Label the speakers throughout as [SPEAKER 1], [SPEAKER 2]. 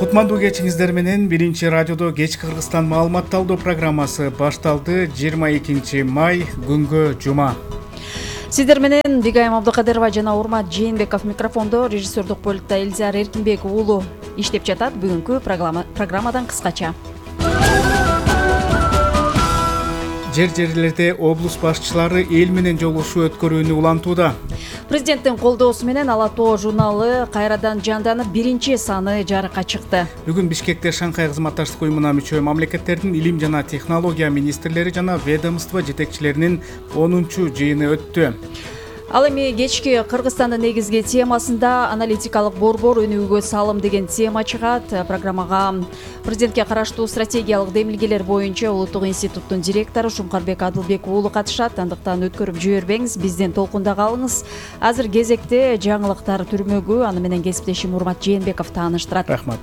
[SPEAKER 1] Кутмандуу кечиңиздер менен биринчи радиодо кечки Кыргызстан маалыматталдоо программасы башталды. 22 май күнгө жума.
[SPEAKER 2] Сиздер менен Бигайым Абдыкадырова жана Урмат Жээнбеков микрофондо, режиссердук бөлүктө Элзар Эркинбек уулу иштеп жатат. Бүгүнкү программадан кыскача.
[SPEAKER 1] Жер-жерлерде облус башчылары эл менен жолугушуу өткөрүүнү улантууда.
[SPEAKER 2] Президенттин колдоосу менен Ала Тоо журналы кайрадан жанданып, биринчи саны жарыкка чыкты.
[SPEAKER 1] Бүгүн Бишкекте Шанхай кызматташтык уюмуна мүчө мамлекеттердин илим жана технология министрлери жана ведомство жетекчилеринин 10-жыйыны өттү.
[SPEAKER 2] Ал эми кечки Кыргызстандын негизги темасында аналитикалык борбор өнүгүүгө салым деген тема чыгат. Программага президентке караштуу стратегиялык демилгелер боюнча Улуттук институттун директору Шумкарбек Адылбек уулу катышат. Андыктан өткөрүп жибербеңиз, бизден толкунда калыңыз. Азыр кезекте жаңылыктар түрмөгү, аны менен кесиптешим Урмат Жээнбеков тааныштырат.
[SPEAKER 1] Рахмат.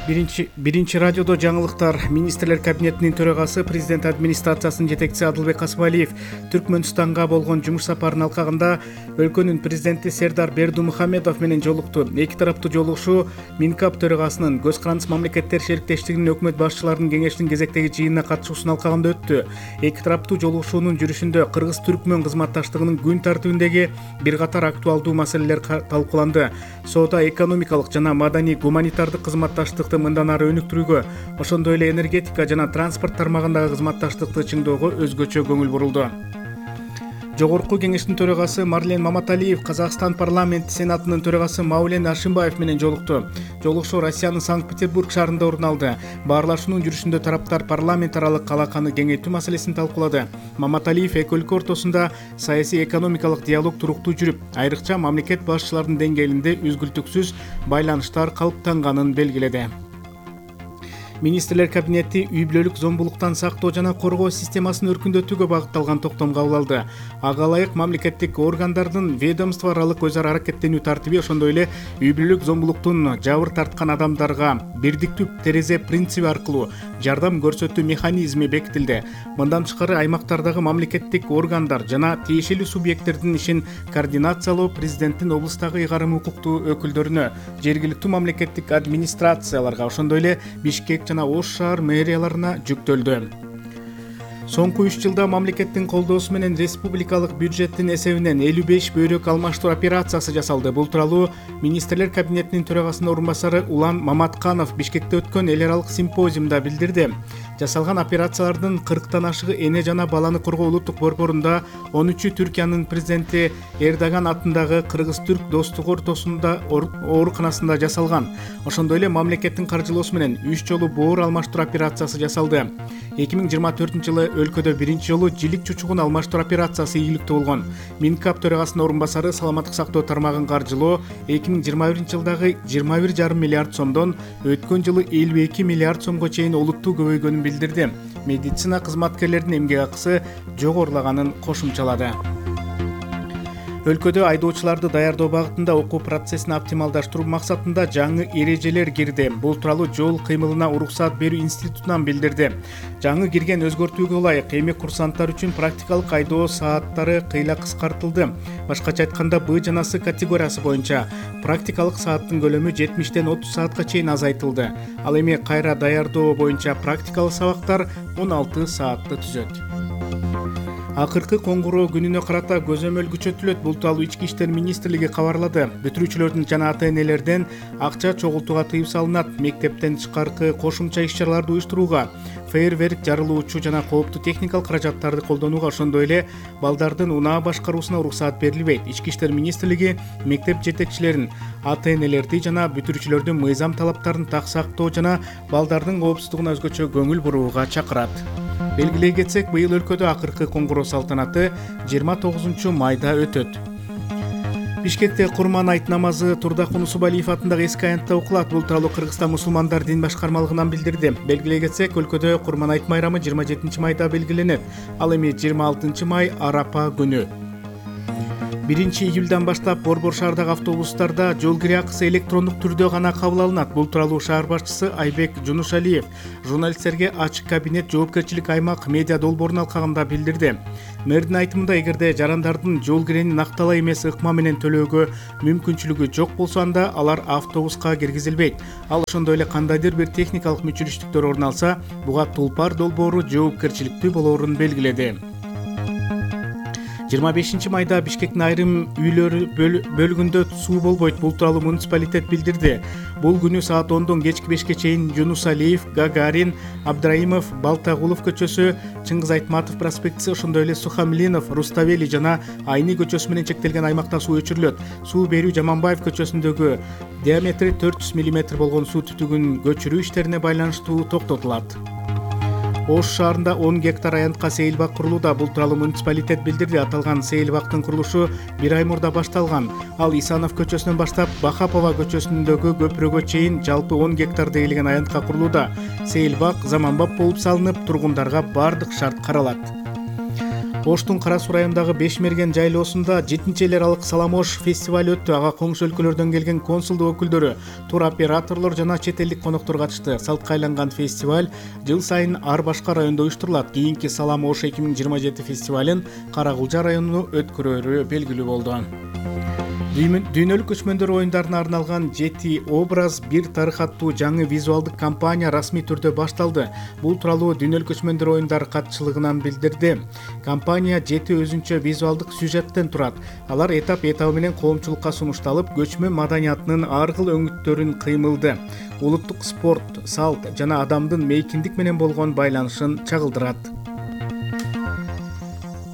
[SPEAKER 1] Биринчи радиодо жаңылыктар. Министрлер кабинетинин төрагасы, президент администрациясынын жетекчиси Адылбек Касымалиев Түркмөнстанга болгон жумуш сапарынын алкагында өлкөнүн президенти Сердар Бердумухамедов менен жолукту. Эки тараптуу жолугушуу Минкап төрагасынын Көз карандысыз мамлекеттер шериктештигинин өкмөт башчыларынын кеңешинин кезектеги жыйынына катышуусунун алкагында өттү. Эки тараптуу жолугушуунун жүрүшүндө Кыргыз-Түркмөн кызматташтыгынын күн тартибиндеги бир катар актуалдуу маселелер талкууланды. Соода-экономикалык жана маданий-гуманитардык кызматташтыкты мындан ары өнүктүрүүгө, ошондой эле энергетика жана транспорт тармагындагы кызматташтыкты чыңоого өзгөчө көңүл бурулду. Жогорку кеңештин төрагасы Марлен Маматалиев Казакстан парламенти сенатынын төрагасы Маулен Ашимбаев менен жолукту. Жолугушуу Россиянын Санкт-Петербург шаарында орун алды. Баарлашуунун жүрүшүндө тараптар парламент аралык алаканы кеңейтүү маселесин талкуулады. Маматалиев эки өлкө ортосунда саясий экономикалык диалог туруктуу жүрүп, айрыкча мамлекет башчыларынын деңгээлинде үзгүлтүксүз байланыштар калыптанганын белгиледи. Министрлер кабинети үй бүлөлүк зомбулуктан сактоо жана коргоо системасын өркүндөтүүгө багытталган токтом кабыл алды. Ага ылайык мамлекеттик органдардын ведомство аралык өз ара аракеттенүү тартиби, ошондой эле үй бүлөлүк зомбулуктун жабыр тарткан адамдарга бирдиктүү терезе принциби аркылуу жардам көрсөтүү механизми бекитилди. Мындан тышкары аймактардагы мамлекеттик органдар жана тиешелүү субъекттердин ишин координациялоо президенттин облустагы ыйгарым укуктуу өкүлдөрүнө, жергиликтүү мамлекеттик администрацияларга, ошондой эле Бишкек жана Ош шаар мэрияларына жүктөлдү. Соңку 3 жылда мамлекеттин колдоосу менен республикалык бюджеттин эсебинен 55 бөйрөк алмаштыруу операциясы жасалды. Бул тууралуу Министрлер кабинетинин төрагасынын орун басары Улан Маматканов Бишкекте өткөн эл аралык симпозиумда билдирди. Жасалган операциялардын 40тан ашыгы эне жана баланы коргоо улуттук борборунда, 13-ü Түркиянын президенти Эрдоган атындагы Кыргыз-Түрк достугу ортосунда ооруканасында жасалган. Ошондой эле мамлекеттин каржылоосу менен 3 жолу боор алмаштыруу операциясы жасалды. 2024-жылы өлкөдө биринчи жолу жилик чучугун алмаштыруу операциясы ийгиликтүү болгон. Минкап төрагасынын орун басары саламаттык сактоо тармагын каржылоо 2021-жылдагы 21,5 миллиард сомдон өткөн жылы 52 миллиард сомго чейин олуттуу көбөйгөнүн билдирди. Медицина кызматкерлеринин эмгек акысы жогорулаганын кошумчалады. Өлкөдө айдоочуларды даярдоо багытында окуу процессин оптималдаштыруу максатында жаңы эрежелер кирди. Бул тууралуу жол кыймылына уруксаат берүү институтунан билдирди. Жаңы кирген өзгөртүүгө ылайык эми курсанттар үчүн практикалык айдоо сааттары кыйла кыскартылды. Башкача айтканда, Б жана С категориясы боюнча практикалык сааттын көлөмү 70-тен 30 саатка чейин азайтылды. Ал эми кайра даярдоо боюнча практикалык сабактар 16 саатты түзөт. Акыркы коңгуроо күнүнө карата көзөмөл күчөтүлөт. Бул тууралуу Ички иштер министрлиги кабарлады. Бүтүрүүчүлөрдүн жана ата-энелерден акча чогултууга тыюу салынат. Мектептен тышкаркы кошумча иш-чараларды уюштурууга, фейерверк жарылуучу жана кооптуу техникалык каражаттарды колдонууга, ошондой эле балдардын унаа башкаруусуна уруксаат берилбейт. Ички иштер министрлиги мектеп жетекчилерин, ата-энелерди жана бүтүрүүчүлөрдүн мыйзам талаптарын так сактоо жана балдардын коопсуздугуна өзгөчө көңүл бурууга чакырат. Белгилей кетсек, быйыл өлкөдө акыркы коңгуроо салтанаты 29 майда өтөт. Бишкекте Курман айт намазы Турдакун Усубалиев атындагы эски аянтта окулат. Бул тууралуу Кыргызстан мусулмандар дин башкармалыгынан билдирди. Белгилей кетсек, өлкөдө Курман айт майрамы 27 майда белгиленет. Ал эми 26 май Арапа күнү. 1-июлдан баштап Борбор шаардагы автобустарда жол кире акысы электрондук түрдө гана кабыл алынат. Бул тууралуу шаар башчысы Айбек Жунушалиев журналисттерге ачык кабинет жоопкерчилик аймак медиа долбоорунун алкагында билдирди. Мэрдин айтымында, эгерде жарандардын жол кирени накталай эмес ыкма менен төлөөгө мүмкүнчүлүгү жок болсо, анда алар автобуска киргизилбейт. Ал ошондой эле кандайдыр бир техникалык мүчүлүштүктөр орун алса, буга тулпар долбоору жоопкерчиликтүү болоорун белгиледи. 25 майда Бишкектин айрым үйлөрү бөлүгүндө суу болбойт. Бул тууралуу муниципалитет билдирди. Бул күнү саат 10дон кечки 5ке чейин Жунусалиев, Гагарин, Абдраимов, Балтагулов көчөсү, Чыңгыз Айтматов проспектиси, ошондой эле Сухамлинов, Руставели жана Айни көчөсү менен чектелген аймакта суу өчүрүлөт. Суу берүү Жаманбаев көчөсүндөгү диаметри 400 мм болгон суу түтүгүн көчүрүү иштерине байланыштуу токтотулат. Ош шаарында 10 гектар аянтка сейилбак курулууда. Бул тууралуу муниципалитет билдирди. Аталган сейилбактын курулушу 1 ай мурда башталган. Ал Исанов көчөсүнөн баштап Бахапова көчөсүндөгү көпүрөгө чейин жалпы 10 гектарда ээлеген аянтка курулууда. Сейилбак заманбап болуп салынып, тургундарга бардык шарт каралат. Оштун Кара Суу районундагы Бешмерген жайлоосунда 7-эл аралык Саламош фестиваль өттү. Ага коңшу өлкөлөрдөн келген консулдук өкүлдөрү, туроператорлор жана чет элдик коноктор катышты. Салтка айланган фестиваль жыл сайын ар башка райондо уюштурулат. Кийинки Саламош 2027 фестивалын Каракулжа районуна өткөрөөрү белгилүү болду. Дүйнөлүк көчмөндөр оюндарына арналган 7 образ бир тарых аттуу жаңы визуалдык кампания расмий түрдө башталды. Бул тууралуу Дүйнөлүк көчмөндөр оюндары катчылыгынан билдирди. Кампания 7 өзүнчө визуалдык сюжеттен турат. Алар этап менен коомчулукка сунушталып, көчмөн маданиятынын ар кыл өңүттөрүн кыймылды, улуттук спорт, салт жана адамдын мейкиндик менен болгон байланышын чагылдырат.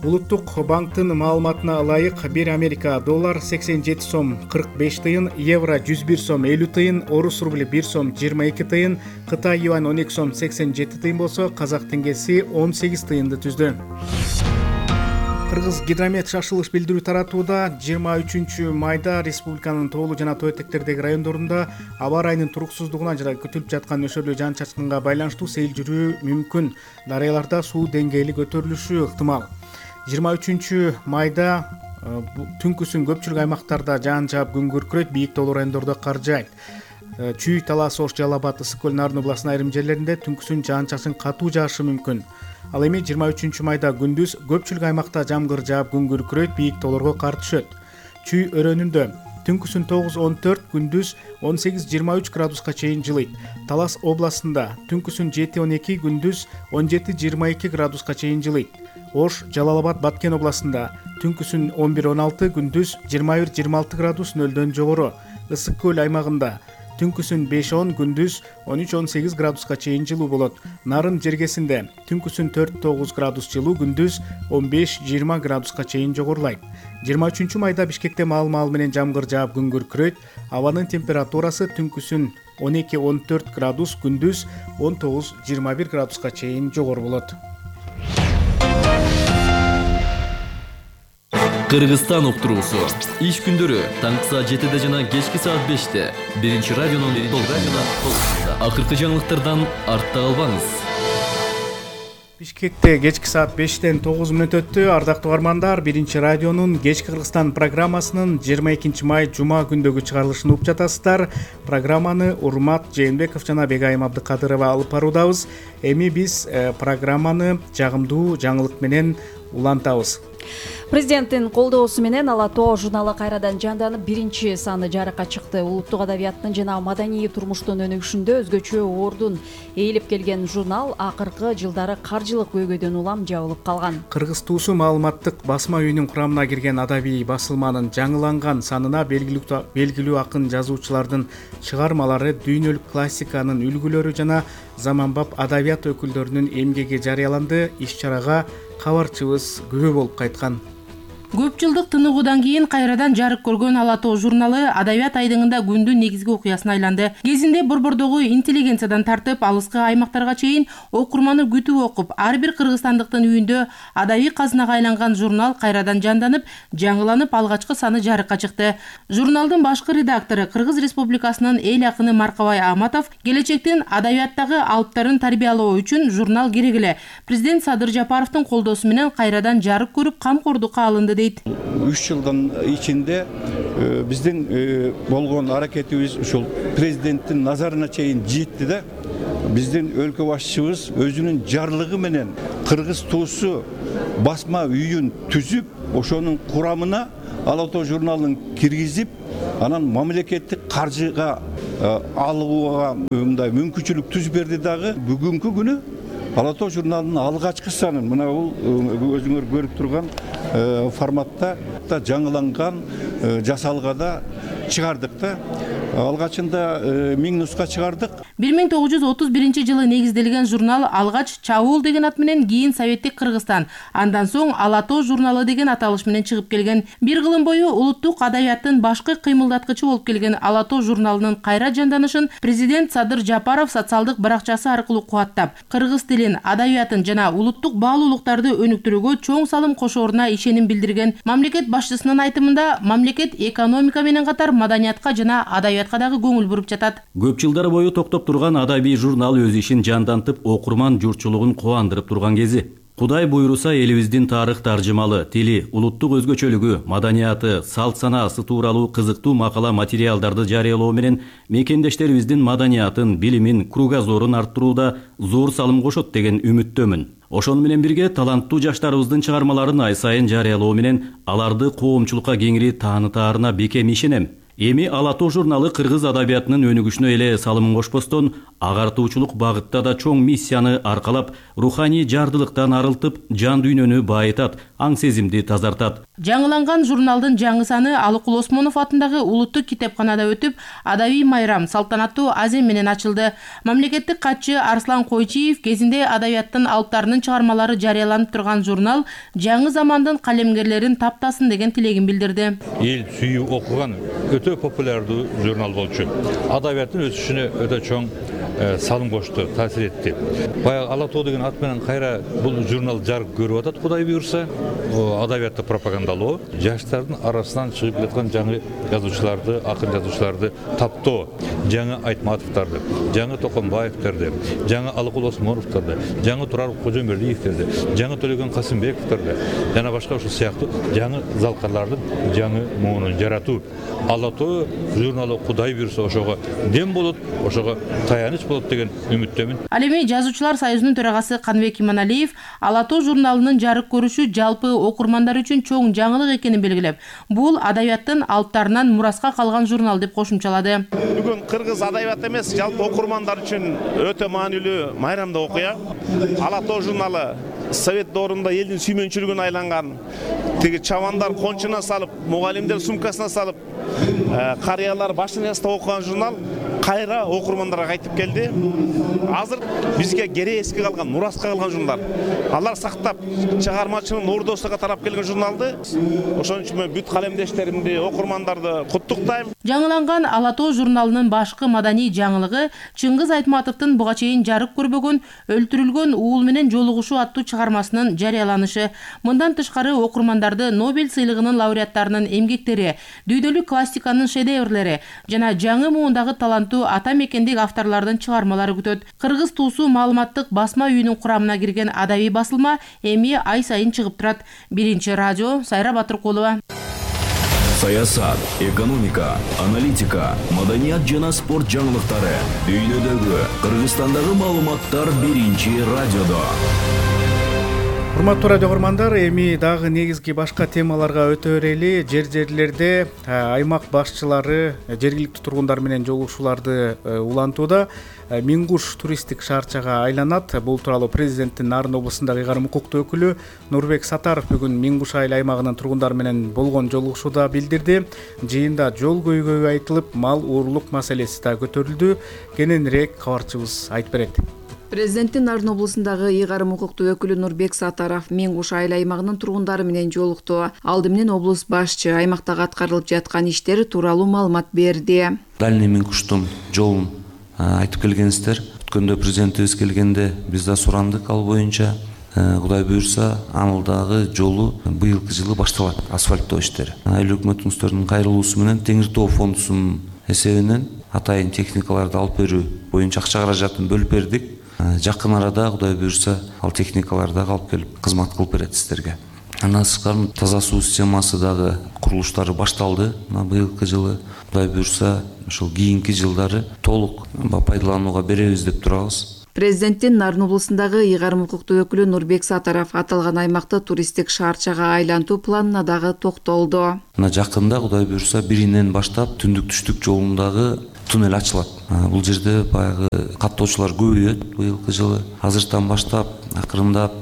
[SPEAKER 1] Улуттук банктын маалыматына ылайык, 1 Америка доллар 87 сом 45 тыйын, евро 101 сом 50 тыйын, орус рубли 1 сом 22 тыйын, Кытай юань 12 сом 87 тыйын болсо, казак теңгеси 18 тыйынды түздү. Кыргыз гидромет шашылыш билдирүү таратууда 23 майда республиканын тоолуу жана тоо этектердеги райондорунда аба ырайынын туруксуздугуна жана күтүлүп жаткан нөшөрлүү жаан-чачкынга байланыштуу сейил жүрүү мүмкүн. Дарыяларда суу деңгээли көтөрүлүшү ыктымал. 23 майда түнкүсүн көпчүлүк аймактарда жаан жаап күн күркүрөйт, бийик тоолуу райондордо кар жаайт. Чүй, Талас, Ош, Жалал Абад, Ысык көл, Нарын областынын айрым жерлеринде түнкүсүн жаан-чачын катуу жаашы мүмкүн. Ал эми 23 майда күндүз көпчүлүк аймакта жамгыр жаап күн күркүрөйт, бийик тоолорго кар түшөт. Чүй өрөөнүндө түнкүсүн 9-14, күндүз 18-23 градуска чейин жылыйт. Талас областында түнкүсүн 7-12, күндүз 17-22 градуска чейин жылыйт. Ош, Жалал Абад, Баткен областында түнкүсүн 11-16, күндүз 21-26 градус нөлдөн жогору. Ысык көл аймагында түнкүсүн 5-10, күндүз 13-18 градуска чейин жылуу болот. Нарын жергесинде түнкүсүн 4-9 градус жылуу, күндүз 15-20 градуска чейин жогорулайт. 23 майда Бишкекте маал менен жамгыр жаап күн күркүрөйт. Абанын температурасы түнкүсүн 12-14 градус, күндүз 19-21 градуска чейин жогору болот.
[SPEAKER 3] Кыргызстан уктуруусу иш күндөрү таңкы саат 7 жана кечки саат 5 биринчи радионун толкунунда. Акыркы жаңылыктардан артта калбаңыз.
[SPEAKER 1] Бишкекте кечки саат 5-тен 9 мүнөт өттү. Ардактуу угармандар, биринчи радионун кечки Кыргызстан программасынын 22 май жума күндөгү чыгарылышын угуп жатасыздар. Программаны Урмат Жээнбеков жана Бегайым Абдыкадырова алып баруудабыз. Эми биз программаны жагымдуу жаңылык менен улантабыз.
[SPEAKER 2] Президенттин колдоосу менен Ала Тоо журналы кайрадан жанданып, биринчи саны жарыкка чыкты. Улуттук адабияттын жана маданий турмуштун өнүгүшүндө өзгөчө ордун ээлеп келген журнал акыркы жылдары каржылык көйгөйдөн улам жабылып калган.
[SPEAKER 1] Кыргыз туусу маалыматтык басма үйүнүн курамына кирген адабий басылманын жаңыланган санына белгилүү акын жазуучулардын чыгармалары, дүйнөлүк классиканын үлгүлөрү жана заманбап адабият өкүлдөрүнүн эмгеги жарыяланды. Иш-чарага кабарчыбыз күбө болуп кайткан.
[SPEAKER 4] Көп жылдык тыныгуудан кийин кайрадан жарык көргөн Ала Тоо журналы адабият айдыңында күндүн негизги окуясына айланды. Кезинде борбордогу интеллигенциядан тартып алыскы аймактарга чейин окурманы күтүп окуп, ар бир кыргызстандыктын үйүндө адабий казынага айланган журнал кайрадан жанданып, жаңыланып алгачкы саны жарыкка чыкты. Журналдын башкы редактору Кыргыз Республикасынын эл акыны Маркабай Аматов келечектин адабияттагы алыптарын тарбиялоо үчүн журнал керек эле президент Садыр Жапаровдун колдоосу менен кайрадан жарык көрүп камкордукка алынды ылдыгы дейт.
[SPEAKER 5] 3 жылдын ичинде биздин болгон аракетибиз ушул президенттин назарына чейин жетти да. Биздин өлкө башчыбыз өзүнүн жарлыгы менен кыргыз туусу басма үйүн түзүп, ошонун курамына Ала Тоо журналын киргизип, анан мамлекеттик каржыга алууга мындай мүмкүнчүлүк түзүп берди дагы. Бүгүнкү күнү Ала Тоо журналынын алгачкы санын мына бул өзүңөр көрүп турган форматта жаңыланган жасалгада чыгардык да. Алгачында 1000 нуска чыгардык.
[SPEAKER 4] 1931 негизделген журнал алгач Чабуул деген ат менен, кийин Советтик Кыргызстан, андан соң Ала Тоо журналы деген аталыш менен чыгып келген. Бир кылым бою улуттук адабияттын башкы кыймылдаткычы болуп келген Ала Тоо журналынын кайра жанданышын президент Садыр Жапаров социалдык баракчасы аркылуу кубаттап, кыргыз тилин, адабиятын жана улуттук баалуулуктарды өнүктүрүүгө чоң салым кошооруна ишеним билдирген. Мамлекет башчысынын айтымында, мамлекет экономика менен катар маданиятка жана адабиятка дагы көңүл буруп жатат.
[SPEAKER 6] Көп жылдар бою токтоп турган адабий журнал өз ишин жандантып, окурман журтчулугун кубандырып турган кези. Кудай буйруса элибиздин тарых таржымалы, тили, улуттук өзгөчөлүгү, маданияты, салт санаасы тууралуу кызыктуу макала материалдарды жарыялоо менен мекендештерибиздин маданиятын, билимин, кругозорун арттырууда зор салым кошот деген үмүттөмүн. Ошону менен бирге таланттуу жаштарыбыздын чыгармаларын ай сайын жарыялоо менен аларды коомчулукка кеңири таанытаарына бекем ишенем. Эми Ала Тоо журналы кыргыз адабиятынын өнүгүшүнө эле салымын кошпостон, агартуучулук багытта да чоң миссияны аркалап, руханий жардылыктан арылтып, жан дүйнөнү байытат, аң сезимди тазартат.
[SPEAKER 4] Жаңыланган журналдын жаңы саны Алыкул Осмонов атындагы улуттук китепканада өтүп, адабий майрам салтанаттуу азем менен ачылды. Мамлекеттик катчы Арслан Койчиев кезинде адабияттын алыптарынын чыгармалары жарыяланып турган журнал жаңы замандын калемгерлерин таптасын деген тилегин билдирди.
[SPEAKER 7] Эл сүйүп окуган өтө популярдуу журнал болчу. Адабияттын өсүшүнө өтө чоң салым кошту, таасир этти. Баягы Ала Тоо деген ат менен кайра бул журнал жарык көрүп атат, Кудай буйруса. Адабиятты пропагандалоо, жаштардын арасынан чыгып жаткан жаңы жазуучуларды, акын жазуучуларды таптоо, жаңы Айтматовдарды, жаңы Токонбаевдерди, жаңы Алыкул Осмоновдорду, жаңы Турар Кожомбердиевдерди, жаңы Төлөгөн Касымбековдорду жана башка ушул сыяктуу жаңы залкарлардын жаңы муунун жаратуу. Ала Тоо журналы Кудай буйруса ошого дем болот, ошого таяныч болот деген үмүттөмүн.
[SPEAKER 4] Ал эми Жазуучулар союзунун төрагасы Каныбек Иманалиев Ала Тоо журналынын жарык көрүшү жалпы окурмандар үчүн чоң жаңылык экенин белгилеп, бул адабияттын алыптарынан мураска калган журнал деп кошумчалады.
[SPEAKER 8] Бүгүн кыргыз адабияты эмес, жалпы окурмандар үчүн өтө маанилүү майрамдуу окуя. Ала Тоо журналы Совет доорунда элдин сүймөнчүлүгүнө айланган, тиги чабандар кончуна салып, мугалимдер сумкасына салып, карыялар башын ястап окуган журнал кайра окурмандарга кайтып келди. Азыр бизге кере эске калган, мураска калган журналдар. Алар сактап, чыгармачынын ордосуга тарап келген журналды. Ошон үчүн мен бүт калемдештеримди, окурмандарды куттуктайм.
[SPEAKER 4] Жаңыланган Ала Тоо журналынын башкы маданий жаңылыгы Чыңгыз Айтматовдун буга чейин жарык көрбөгөн Өлтүрүлгөн уул менен жолугушуу аттуу чыгармасынын жарыяланышы. Мындан тышкары окурмандарды Нобель сыйлыгынын лауреаттарынын эмгектери, дүйнөлүк классиканын шедеврлери жана жаңы муундагы таланттуу ата мекендик авторлордун чыгармалары күтөт. Кыргыз туусу маалыматтык басма үйүнүн курамына кирген адабий басылма эми ай сайын чыгып турат. Биринчи радио, Сайра Батыркулова.
[SPEAKER 9] Саясат, экономика, аналитика, маданият жана спорт жаңылыктары, дүйнөдөгү, Кыргызстандагы маалыматтар биринчи радиодо.
[SPEAKER 1] Урматтуу радио көрөрмандар, эми дагы негизги башка темаларга өтө берели. Жерлерде аймак башчылары жергиликтүү тургундар менен жолугушууларды улантууда. Мингуш туристтик шаарчага айланат. Бул тууралуу президенттин Нарын облусундагы ыйгарым укуктуу өкүлү Нурбек Сатаров бүгүн Мингуш айыл аймагынын тургундары менен болгон жолугушууда билдирди. Жыйында жол көйгөйү айтылып, мал уурлук маселеси да көтөрүлдү. Кененирээк кабарчыбыз айтып берет.
[SPEAKER 10] Президенттин Нарын облусундагы ыйгарым укуктуу өкүлү Нурбек Сатаров Мингуш айыл аймагынын тургундары менен жолукту. Алды менен облус башчы аймактагы аткарылып жаткан иштер тууралуу маалымат берди.
[SPEAKER 11] Дальний Мингуштун жолун айтып келгенсиздер. Өткөндө президентибиз келгенде биз да сурандык ал боюнча. Кудай буйруса, анылдагы жолу быйылкы жылы башталат, асфальттоо иштери. Айыл өкмөтүңүздөрдүн кайрылуусу менен Теңир Тоо фондусунун эсебинен атайын техникаларды алып берүү боюнча акча каражатын бөлүп бердик. Жакын арада Кудай буйруса ал техникаларды алып келип кызмат кылып берет сиздерге. Андан сырткары таза суу системасы дагы курулуштары башталды. Быйылкы жылы Кудай буйрса ошол кийинки жылдары толук пайдаланууга беребиз деп турабыз.
[SPEAKER 10] Президенттин Нарын облусундагы ыйгарым укуктуу өкүлү Нурбек Сатаров аталган аймакты туристтик шаарчага айлантуу планына дагы токтолду.
[SPEAKER 11] Жакында Кудай буйрса 1-нен баштап түндүк түштүк жолундагы туннель ачылат. Бул жерде баягы каттоочулар көбөйөт быйылкы жылы. Азыртан баштап акырындап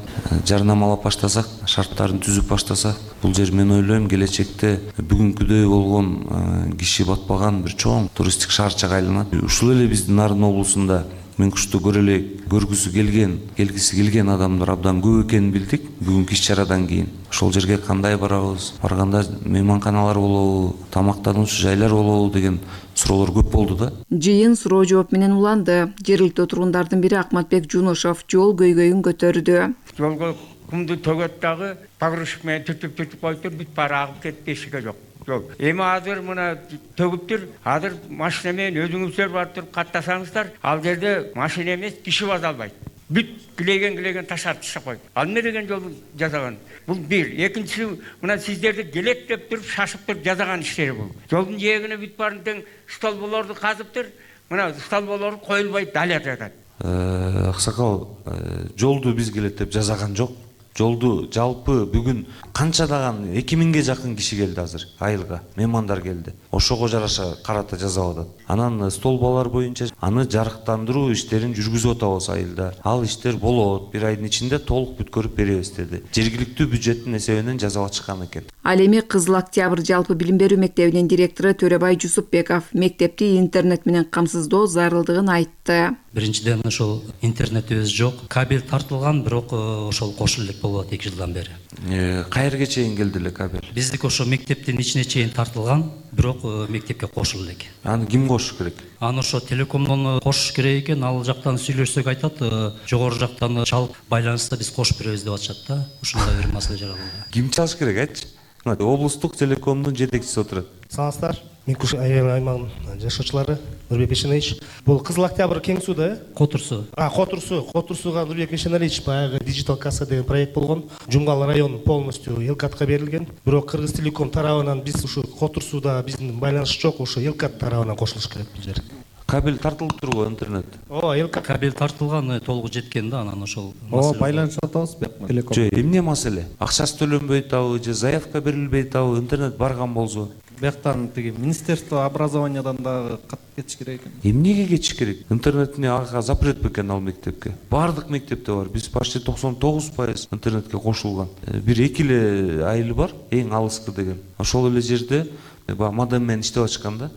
[SPEAKER 11] жарнамалап баштасак, шарттарын түзүп баштасак, бул жер мен ойлойм келечекте бүгүнкүдөй болгон киши батпаган бир чоң туристтик шаарчага айланат. Ушул эле биздин Нарын облусунда Меңкушту көргүсү келген адамдар абдан көп экенин билдик. Бүгүнкү иш-чарадан кийин ошол жерге кандай барабыз, барганда мейманканалар болобу, тамактануучу жайлар болобу деген суроолор көп болду да.
[SPEAKER 10] Жыйын суроо жооп менен уланды. Жергиликтүү тургундардын бири Акматбек Жунушов жол көйгөйүн көтөрдү.
[SPEAKER 12] Жолго кумду төгөт дагы погрузчик менен түртүп коюптур, бүт баары агып кетпешиге жок. Эми азыр мына төгүптүр, азыр машина менен өзүңүздөр барып туруп каттасаңыздар, ал жерде машина эмес, киши баса албайт. Бүт килеген таштап койду. Ал эмне деген жол жасаган? Бул бир. Экинчиси, мына сиздерди келет деп туруп, шашып туруп жасаган иштери бул. Жолдун жээгине бүт баарын тең столболорду казыптыр. Мына столболор коюлбай даля жатат.
[SPEAKER 11] Аксакал, жолду биз келет деп жасаган жок. Жолду жалпы бүгүн канчадаган 2000ге жакын киши келди азыр айылга, меймандар келди. Ошого жараша карата жасап атат. Анан столбалар боюнча аны жарыктандыруу иштерин жүргүзүп атабыз айылда. Ал иштер болот, бир айдын ичинде толук бүткөрүп беребиз деди. Жергиликтүү бюджеттин эсебинен жасап атышкан экен.
[SPEAKER 10] Ал эми Кызыл Октябрь жалпы билим берүү мектебинин директору Төрөбай Жусупбеков мектепти интернет менен камсыздоо зарылдыгын айтты.
[SPEAKER 13] Биринчиден ошол интернетибиз жок, кабель тартылган, бирок ошол кошулуп элек болуп атат 2 жылдан бери.
[SPEAKER 11] Каерге чейин келди эле кабель?
[SPEAKER 13] Биздики ошо мектептин ичине чейин тартылган, бирок мектепке кошулду элек.
[SPEAKER 11] Аны ким кошуш керек?
[SPEAKER 13] Аны ошо телекомдон кошуш керек экен, ал жактан сүйлөшсөк айтат, жогору жактан чалып байланышта биз кошуп беребиз деп атышат да. Ушундай бир маселе жаралды.
[SPEAKER 11] Ким чалыш керек айтчы? Облустук телекомдун жетекчиси отурат.
[SPEAKER 14] Саламатсыздар. Меңкуш аймагынын жашоочулары Нурбек Эшенович. Бул Кызыл Октябрь кең сууда,
[SPEAKER 13] Котурсу.
[SPEAKER 14] Котурсуга Нурбек Эшенович баягы Digital Касса деген проект болгон. Жумгал район полностью Элкатка берилген. Бирок Кыргыз Телеком тарабынан биз ушу Котурсуда биздин байланыш жок, ошо Элкат тарабынан кошулуш керек бул жер.
[SPEAKER 11] Кабель тартылып турбу интернет?
[SPEAKER 14] Элкат
[SPEAKER 13] кабель тартылган, толугу жеткен да, анан ошол маселе.
[SPEAKER 14] Байланыш атабыз Телеком.
[SPEAKER 11] Жок, эмне маселе? Акчасы төлөнбөй атабы, же заявка берилбей атабы, интернет барган болсо?
[SPEAKER 14] Бияктан тиги Министерство образованиядан дагы кат кетиш керек экен.
[SPEAKER 11] Эмнеге кетиш керек? Интернетине ага запрет бекен ал мектепке. Бардык мектепте бар. Биз почти 99% интернетке кошулган. Бир 2 эле айылы бар, эң алыскы деген. Ошол эле жерде модем менен иштеп атышкан да.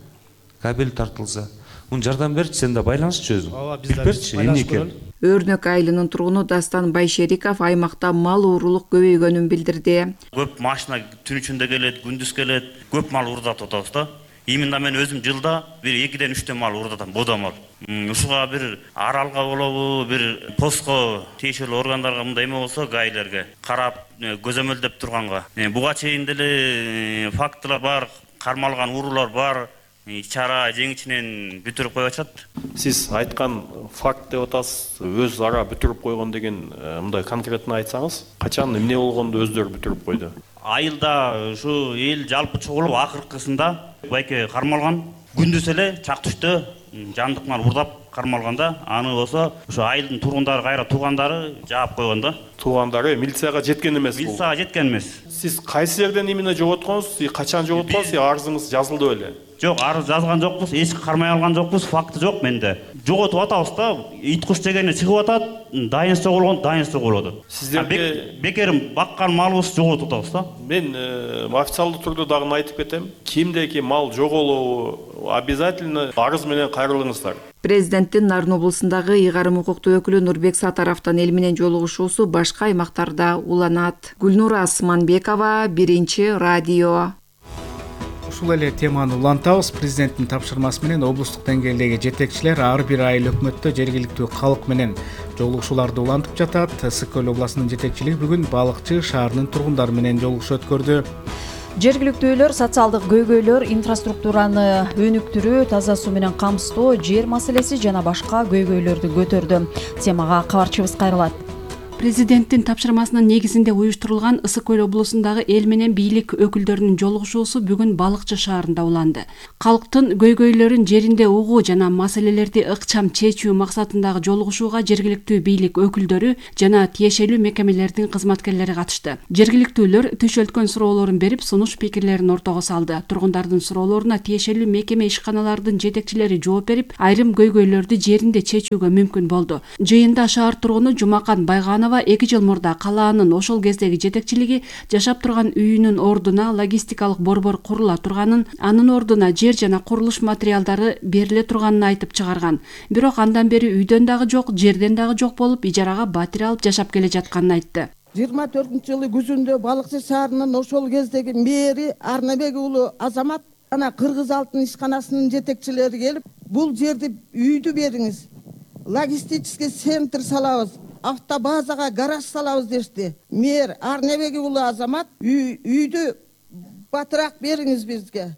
[SPEAKER 11] Кабель тартылса, мун жардам берчи, сен да байланышчы өзүң.
[SPEAKER 14] Ооба, биз
[SPEAKER 11] берчи, эмне экен?
[SPEAKER 10] Өрнөк айылынын тургуну Дастан Байшериков аймакта мал уурулук көбөйгөнүн билдирди.
[SPEAKER 15] Көп машина түн ичинде келет, күндүз келет, көп мал уурдатып атабыз да. Именно мен өзүм жылда бир 2-ден 3 мал уурдатам, бода мал. Ушуга бир аралга болобу, бир постко тиешелүү органдарга мындай эме болсо, гаилерге карап, көзөмөлдөп турганга. Буга чейин деле фактылар бар, кармалган уурулар бар. Чара жеңичинен бүтүрүп коюп атышат.
[SPEAKER 16] Сиз айткан факт деп атасыз, өз ара бүтүрүп койгон деген мындай конкретно айтсаңыз, качан эмне болгонду өздөрү бүтүрүп койду?
[SPEAKER 15] Айылда ушу эл жалпы чогулуп акыркысында байке кармалган, күндүз эле чак түштө жандык мал уурдап кармалганда, аны болсо ушу айылдын тургундары кайра туугандары жаап койгон да.
[SPEAKER 16] Туугандары милицияга жеткен эмес бул.
[SPEAKER 15] Милицияга жеткен эмес.
[SPEAKER 16] Сиз кайсы жерден эмне жоготконсуз, качан жоготконсуз, арызыңыз жазылды беле?
[SPEAKER 15] Жок, арыз жазган жокпуз, эч кармай алган жокпуз, факты жок менде. Жоготуп атабыз да, ит куш дегени чыгып атат, дайын согулган, дайын согулуп атат.
[SPEAKER 16] Сиздерге
[SPEAKER 15] бекерим баккан малыбыз жоготуп атабыз да.
[SPEAKER 16] Мен официалдуу түрдө дагы айтып кетем. Кимдеки мал жоголобу обязательно арыз менен кайрылыңыздар.
[SPEAKER 10] Президенттин Нарын облусундагы ыйгарым укуктуу өкүлү Нурбек Сатаровдун эл менен жолугушуусу башка аймактарда уланат. Гүлнура Асманбекова, 1-радио.
[SPEAKER 1] Ушул эле теманы улантабыз. Президенттин тапшырмасы менен облустук деңгээлдеги жетекчилер ар бир айыл өкмөттө жергиликтүү калк менен жолугушууларды улантып жатат. Ысык-Көл областынын жетекчилиги бүгүн Балыкчы шаарынын тургундары менен жолугушуу өткөрдү.
[SPEAKER 2] Жергиликтүүлөр социалдык көйгөйлөр, инфраструктураны өнүктүрүү, таза суу менен камсыздоо, жер маселеси жана башка көйгөйлөрдү көтөрдү. Темага кабарчыбыз кайрылат.
[SPEAKER 17] Президенттин тапшырмасынын негизинде уюштурулган Ысык Көл облусундагы эл менен бийлик өкүлдөрүнүн жолугушуусу бүгүн Балыкчы шаарында уланды. Калктын көйгөйлөрүн жеринде угуу жана маселелерди ыкчам чечүү максатындагы жолугушууга жергиликтүү бийлик өкүлдөрү жана тиешелүү мекемелердин кызматкерлери катышты. Жергиликтүүлөр түшөлткөн суроолорун берип, сунуш пикирлерин ортого салды. Тургундардын суроолоруна тиешелүү мекеме ишканалардын жетекчилери жооп берип, айрым көйгөйлөрдү жеринде чечүүгө мүмкүн болду. Жыйында шаар тургуну Жумакан Байган 2 жыл мурда калаанын ошол кездеги жетекчилиги жашап турган үйүнүн ордуна логистикалык борбор курула турганын, анын ордуна жер жана курулуш материалдары бериле турганын айтып чыгарган. Бирок андан бери үйдөн дагы жок, жерден дагы жок болуп, ижарага батир алып жашап келе жатканын айтты.
[SPEAKER 18] 24-жылы күзүндө Балыкчы шаарынын ошол кездеги мэри Арнабек уулу Азамат жана Кыргыз алтын ишканасынын жетекчилери келип, бул жерди үйдү бериңиз, логистический центр салабыз, автобазага гараж салабыз дешти. Мэр Арнабек уулу Азамат үйдү батыраак бериңиз бизге.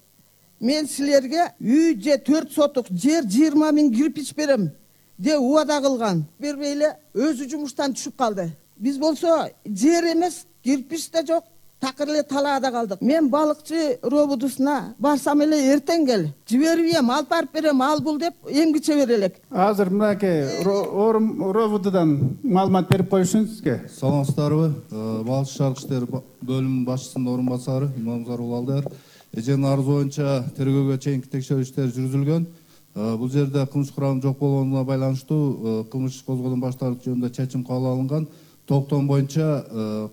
[SPEAKER 18] Мен силерге үй же 4 сотук жер 20 000 кирпич берем деп убада кылган. Бербейле өзү жумуштан түшүп калды. Биз болсо жер эмес, кирпич да жок, такыр эле талаада калдык. Мен Балыкчы робудусуна барсам эле эртең кел, жибербейм, алып барып берем, ал бул деп эмгиче берелек.
[SPEAKER 19] Азыр мынакей робудудан маалымат берип коюшуңузга.
[SPEAKER 20] Саламатсыздарбы? Балыкчы шаардык иштер бөлүмүнүн башчысынын орун басары Имамзар Улалдар. Эженин арызы боюнча тергөөгө чейинки текшерүү иштери жүргүзүлгөн. Бул жерде кылмыш курамы жок болгонуна байланыштуу кылмыш иш козгоодон баш тартуу жөнүндө чечим кабыл алынган. Токтом боюнча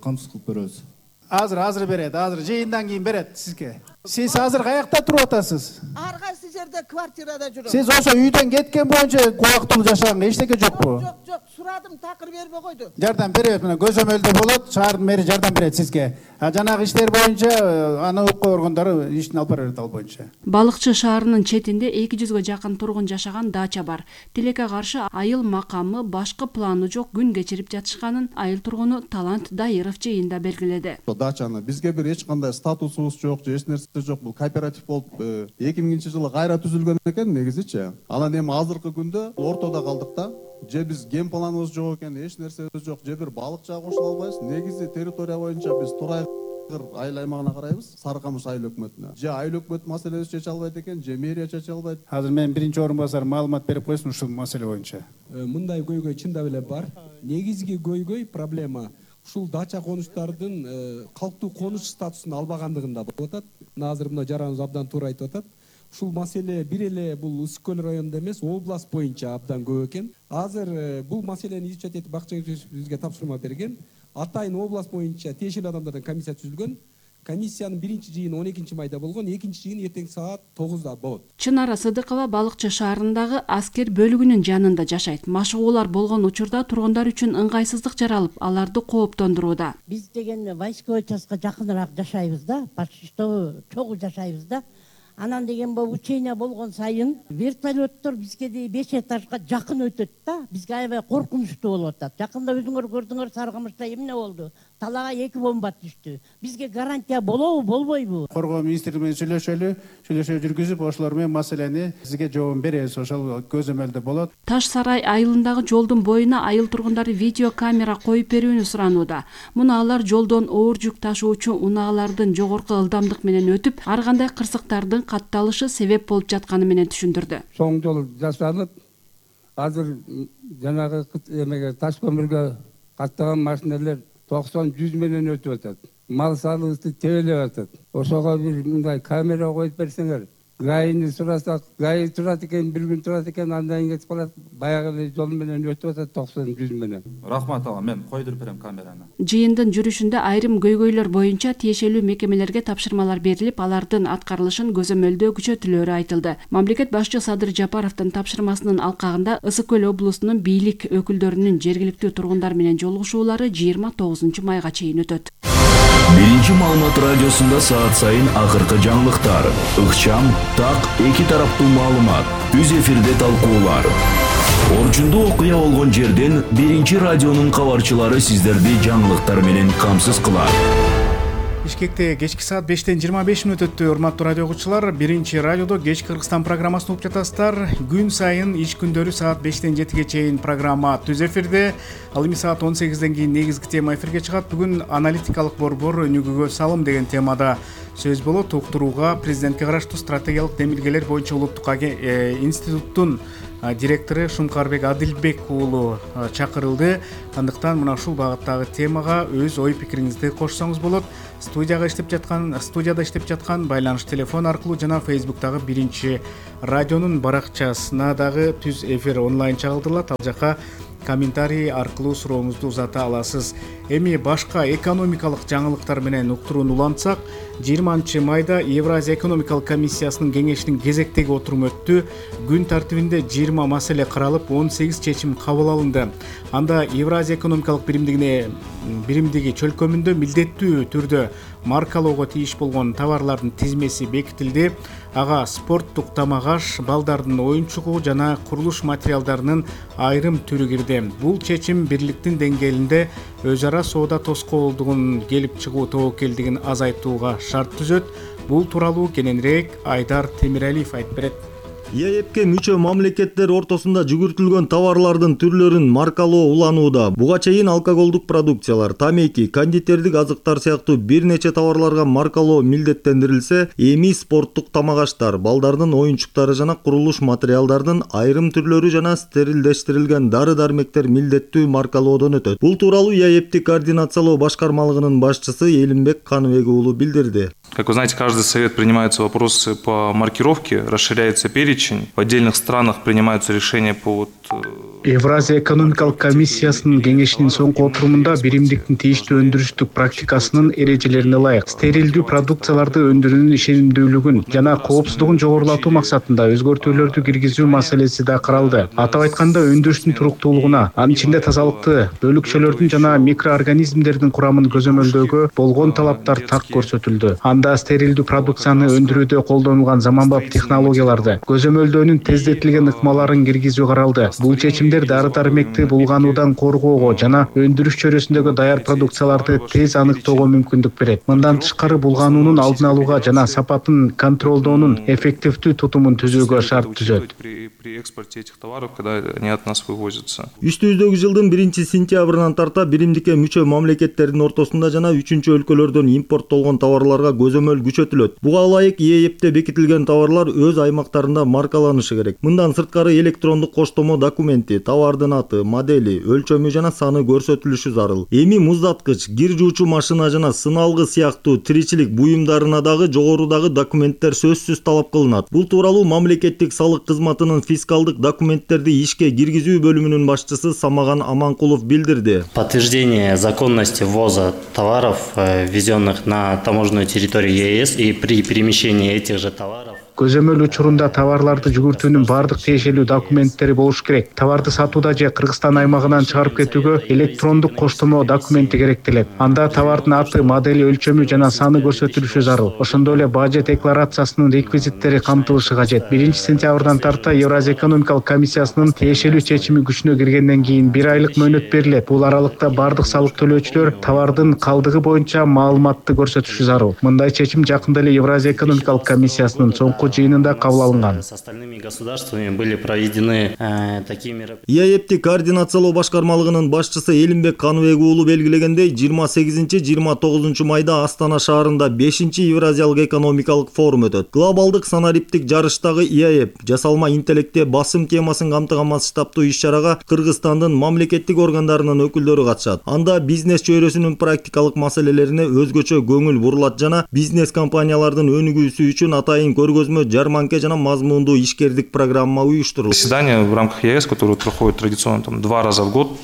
[SPEAKER 20] камсыз кылып беребиз.
[SPEAKER 19] Азыр берет, азыр жыйындан кийин берет сизге. Сиз азыр каякта туруп атасыз?
[SPEAKER 18] Ар кайсы жерде квартирада жүрөм.
[SPEAKER 19] Сиз ошо үйдөн кеткен боюнча убактылуу жашаганга эчтеке жокпу?
[SPEAKER 18] Жок, сурадым, такыр бербей койду.
[SPEAKER 19] Жардам берет, мына көзөмөлдө болот, шаардын мэри жардам берет сизге. Жанагы иштер боюнча аны укук органдары ишин алып берет ал боюнча.
[SPEAKER 17] Балыкчы шаарынын четинде 200га жакын тургун жашаган дача бар. Тилекке каршы айыл макамы башкы планы жок күн кечирип жатышканын айыл тургуну Талант Дайыров жыйында белгиледи.
[SPEAKER 20] Дачаны бизге бир эч кандай статусубуз жок, же эч нерсе жок. Бул кооператив болуп 2000-жылы кайра түзүлгөн экен негизичи. Анан эми азыркы күндө ортодо калдык да. Же биз ген планыбыз жок экен, эч нерсебиз жок. Же бир балыкчыга кошула албайбыз. Негизи территория боюнча биз Турай айыл аймагына карайбыз, Сары Камыш айыл өкмөтүнө. Же айыл өкмөт маселебизди чече албайт экен, же мэрия чече албайт.
[SPEAKER 19] Азыр мен биринчи орун басар маалымат берип койсун ушул маселе боюнча.
[SPEAKER 21] Мындай көйгөй чындап эле бар. Негизги көйгөй проблема ушул дача конуштардын калктуу конуш статусун албагандыгында болуп атат. Азыр мына жараныбыз абдан туура айтып атат. Ушул маселе бир эле бул Ысык Көл районунда эмес, область боюнча абдан көп экен. Азыр бул маселени изучать этип бакчы бизге тапшырма берген. Атайын область боюнча тиешелүү адамдардан комиссия түзүлгөн. Комиссиянын биринчи жыйыны 12 майда болгон, экинчи жыйын эртең саат 9-да болот.
[SPEAKER 17] Чынара Сыдыкова Балыкчы шаарындагы аскер бөлүгүнүн жанында жашайт. Машыгуулар болгон учурда тургундар үчүн ыңгайсыздык жаралып, аларды кооптондурууда.
[SPEAKER 22] Биз деген войсковой частка жакыныраак жашайбыз да, почти что чогуу жашайбыз да. Анан деген учение болгон сайын вертолеттор бизге 5 этажга жакын өтөт да. Бизге аябай коркунучтуу болуп атат. Жакында өзүңөр көрдүңөр, Сары Камышта эмне болду? Талаага 2 бомба түштү. Бизге гарантия болобу, болбойбу?
[SPEAKER 19] Коргоо министри менен сүйлөшүү жүргүзүп, ошолор менен маселени сизге жообун беребиз, ошол көзөмөлдө болот.
[SPEAKER 17] Таш Сарай айылындагы жолдун боюна айыл тургундары видео камера коюп берүүнү суранууда. Муну алар жолдон оор жүк ташуучу унаалардын жогорку ылдамдык менен өтүп, ар кандай кырсыктардын катталышы себеп болуп жатканы менен түшүндүрдү.
[SPEAKER 23] Соң жол жасалып, азыр жанагы эмеге таш көмүргө каттаган машиналар 90-100 менен өтүп атат. Мал салыбызды тебелеп атат. Ошого бир мындай камера коюп берсеңер, гайны сурасак, гай турат экен, бир күн турат экен, андан кийин кетип калат. Баягы жол менен өтүп атат 90-100 менен.
[SPEAKER 24] Рахмат ага, мен койдуруп берем камераны.
[SPEAKER 17] Жыйындын жүрүшүндө айрым көйгөйлөр боюнча тиешелүү мекемелерге тапшырмалар берилип, алардын аткарылышын көзөмөлдөө күчөтүлөрү айтылды. Мамлекет башчы Садыр Жапаровдун тапшырмасынын алкагында Ысык Көл облусунун бийлик өкүлдөрүнүн жергиликтүү тургундар менен жолугушуулары 29 майга чейин өтөт.
[SPEAKER 9] Биринчи маалымат радиосунда саат сайын акыркы жаңылыктар, ыкчам, так, эки тараптуу маалымат, үз эфирде талкуулар. Орчундуу окуя болгон жерден биринчи радионун кабарчылары сиздерди жаңылыктар менен камсыз кылат.
[SPEAKER 1] Бишкекте кечки саат 5:25 өттү. Урматтуу радио угуучулар, биринчи радиодо кеч Кыргызстан программасын угуп жатасыздар. Күн сайын иш күндөрү саат 5-7 чейин программа түз эфирде. Ал эми саат 18-ден кийин негизги тема эфирге чыгат. Бүгүн аналитикалык борбор өнүгүүгө салым деген темада сөз болот. Уктурууга президентке караштуу стратегиялык демилгелер боюнча улуттук институттун директору Шумкарбек Адилбек уулу чакырылды. Андыктан мына ушул багыттагы темага өз ой пикириңизди кошсоңуз болот. Студияда иштеп жаткан байланыш телефон аркылуу жана Facebook'тагы биринчи радионун баракчасына дагы түз эфир онлайн чагылдырылат. Ал жака комментарий аркылуу сурооңузду узата аласыз. Эми башка экономикалык жаңылыктар менен уктурууну улантсак, 20 майда Евразия экономикалык комиссиясынын кеңешинин кезектеги отуруму өттү. Күн тартибинде 20 маселе каралып, 18 чечим кабыл алынды. Анда Евразия экономикалык биримдиги чөлкөмүндө милдеттүү түрдө маркалоого тийиш болгон товарлардын тизмеси бекитилди. Ага спорттук тамак-аш, балдардын оюнчугу жана курулуш материалдарынын айрым түрү кирди. Бул чечим бирликтин деңгээлинде өз ара соода тоскоолдугун келип чыгуу тобокелдигин азайтууга шарт түзөт. Бул тууралуу кененирээк Айдар Темиралиев айтып берет.
[SPEAKER 3] ЕАЭПке мүчө мамлекеттер ортосунда жүгүртүлгөн товарлардын түрлөрүн маркалоо уланууда. Буга чейин алкоголдук продукциялар, тамеки, кондитердик азыктар сыяктуу бир нече товарларга маркалоо милдеттендирилсе, эми спорттук тамак-аштар, балдардын оюнчуктары жана курулуш материалдардын айрым түрлөрү жана стерилдештирилген дары-дармектер милдеттүү маркалоодон өтөт. Бул тууралуу ЕАЭПти координациялоо башкармалыгынын башчысы Элимбек Каныбек уулу билдирди.
[SPEAKER 24] Как вы знаете, каждый совет принимаются вопросы по маркировке, расширяется перечень. В отдельных странах принимаются решения по
[SPEAKER 1] Евразия экономикалык комиссиясынын кеңешинин соңку отурумунда биримдиктин тийиштүү өндүрүштүк практикасынын эрежелерине ылайык стерилдүү продукцияларды өндүрүүнүн ишенимдүүлүгүн жана коопсуздугун жогорулатуу максатында өзгөртүүлөрдү киргизүү маселеси да каралды. Атап айтканда, өндүрүштүн туруктуулугуна, анын ичинде тазалыкты, бөлүкчөлөрдүн жана микроорганизмдердин курамын көзөмөлдөөгө болгон талаптар так көрсөтүлдү. Анда стерилдүү продукцияны өндүрүүдө колдонулган заманбап технологияларды, көзөмөлдөөнүн тездетилген ыкмаларын киргизүү каралды. Бул чечимдер дары-дармекти булгануудан коргоого жана өндүрүш чөйрөсүндөгү даяр продукцияларды тез аныктоого мүмкүндүк берет. Мындан тышкары, булгануунун алдын алууга жана сапатын контролдоонун эффективдүү тутумун түзүүгө шарт түзөт.
[SPEAKER 24] При экспорте этих товаров, когда они от нас вывозятся.
[SPEAKER 3] Үстүбүздөгү жылдын 1-сентябрынан тарта биримдикке мүчө мамлекеттердин ортосунда жана 3-өлкөлөрдөн импорттолгон товарларга көзөмөл күчөтүлөт. Буга ылайык ЕАЭПте бекитилген товарлар өз аймактарында маркаланышы керек. Мындан сырткары электрондук коштомо документи, товардын аты, модели, өлчөмү жана саны көрсөтүлүшү зарыл. Эми муздаткыч, кир жуучу машина жана сыналгы сыяктуу тиричилик буюмдарына дагы жогорудагы документтер сөзсүз талап кылынат. Бул тууралуу мамлекеттик салык кызматынын фискалдык документтерди ишке киргизүү бөлүмүнүн башчысы Самаган Аманкулов билдирди.
[SPEAKER 5] Подтверждение законности ввоза товаров, ввезенных на таможенную территорию ЕС, и при перемещении этих же товаров
[SPEAKER 1] көзөмөл учурунда товарларды жүгүртүүнүн бардык тиешелүү документтери болуш керек. Товарды сатууда же Кыргызстан аймагынан чыгарып кетүүгө электрондук коштомо документи керектелет. Анда товардын аты, модели, өлчөмү жана саны көрсөтүлүшү зарыл. Ошондой эле бажы декларациясынын реквизиттери камтылышы кажет. 1-сентябрдан тарта Евразия экономикалык комиссиясынын тиешелүү чечими күчүнө киргенден кийин 1 айлык мөөнөт берилет. Бул аралыкта бардык салык төлөөчүлөр товардын калдыгы боюнча маалыматты көрсөтүшү зарыл. Мындай чечим жакында эле Евразия экономикалык комиссиясынын соңку жыйынында кабыл алынган.
[SPEAKER 5] С остальными государствами были проведены такие мероприятия.
[SPEAKER 3] ЕАЭПти координациялоо башкармалыгынын башчысы Элимбек Каныбек уулу белгилегендей, 28-29 майда Астана шаарында 5-Евразиялык экономикалык форум өтөт. Глобалдык санариптик жарыштагы ЕАЭП жасалма интеллектте басым темасын камтыган масштабтуу иш-чарага Кыргызстандын мамлекеттик органдарынын өкүлдөрү катышат. Анда бизнес чөйрөсүнүн практикалык маселелерине өзгөчө көңүл бурулат жана бизнес компаниялардын өнүгүүсү үчүн атайын көргөзмө, жарманка жана мазмундуу ишкердик программа уюштурулду.
[SPEAKER 24] Заседание в рамках ЕС, которое проходит традиционно 2 раза в год,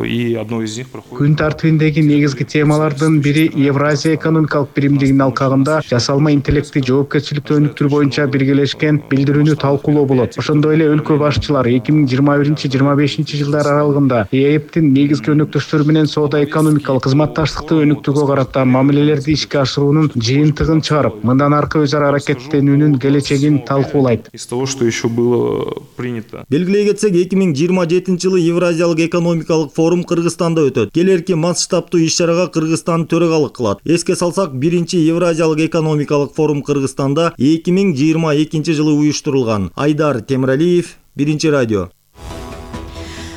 [SPEAKER 24] и одно из них проходит.
[SPEAKER 1] Күн тартибиндеги негизги темалардын бири Евразия экономикалык биримдигинин алкагында жасалма интеллекти жоопкерчиликтүү өнүктүрүү боюнча биргелешкен билдирүүнү талкуулоо болот. Ошондой эле өлкө башчылары 2021-25 жылдар аралыгында ЕАЭПтин негизги өнөктөштөрү менен соода экономикалык кызматташтыкты өнүктүүгө карата мамилелерди ишке ашыруунун жыйынтыгын чыгарып, мындан аркы өз ара аракеттенүүнүн келечегин талкуулайт.
[SPEAKER 24] Из того, что еще было принято.
[SPEAKER 3] Белгилей кетсек, 2027 жылы Евразиялык экономикалык форум Кыргызстанда өтөт. Келерки масштабтуу иш-чарага Кыргызстан төрагалык кылат. Эске салсак, 1-чи Евразиялык экономикалык форум Кыргызстанда 2022 жылы уюштурулган. Айдар Темиралиев, 1-чи радио.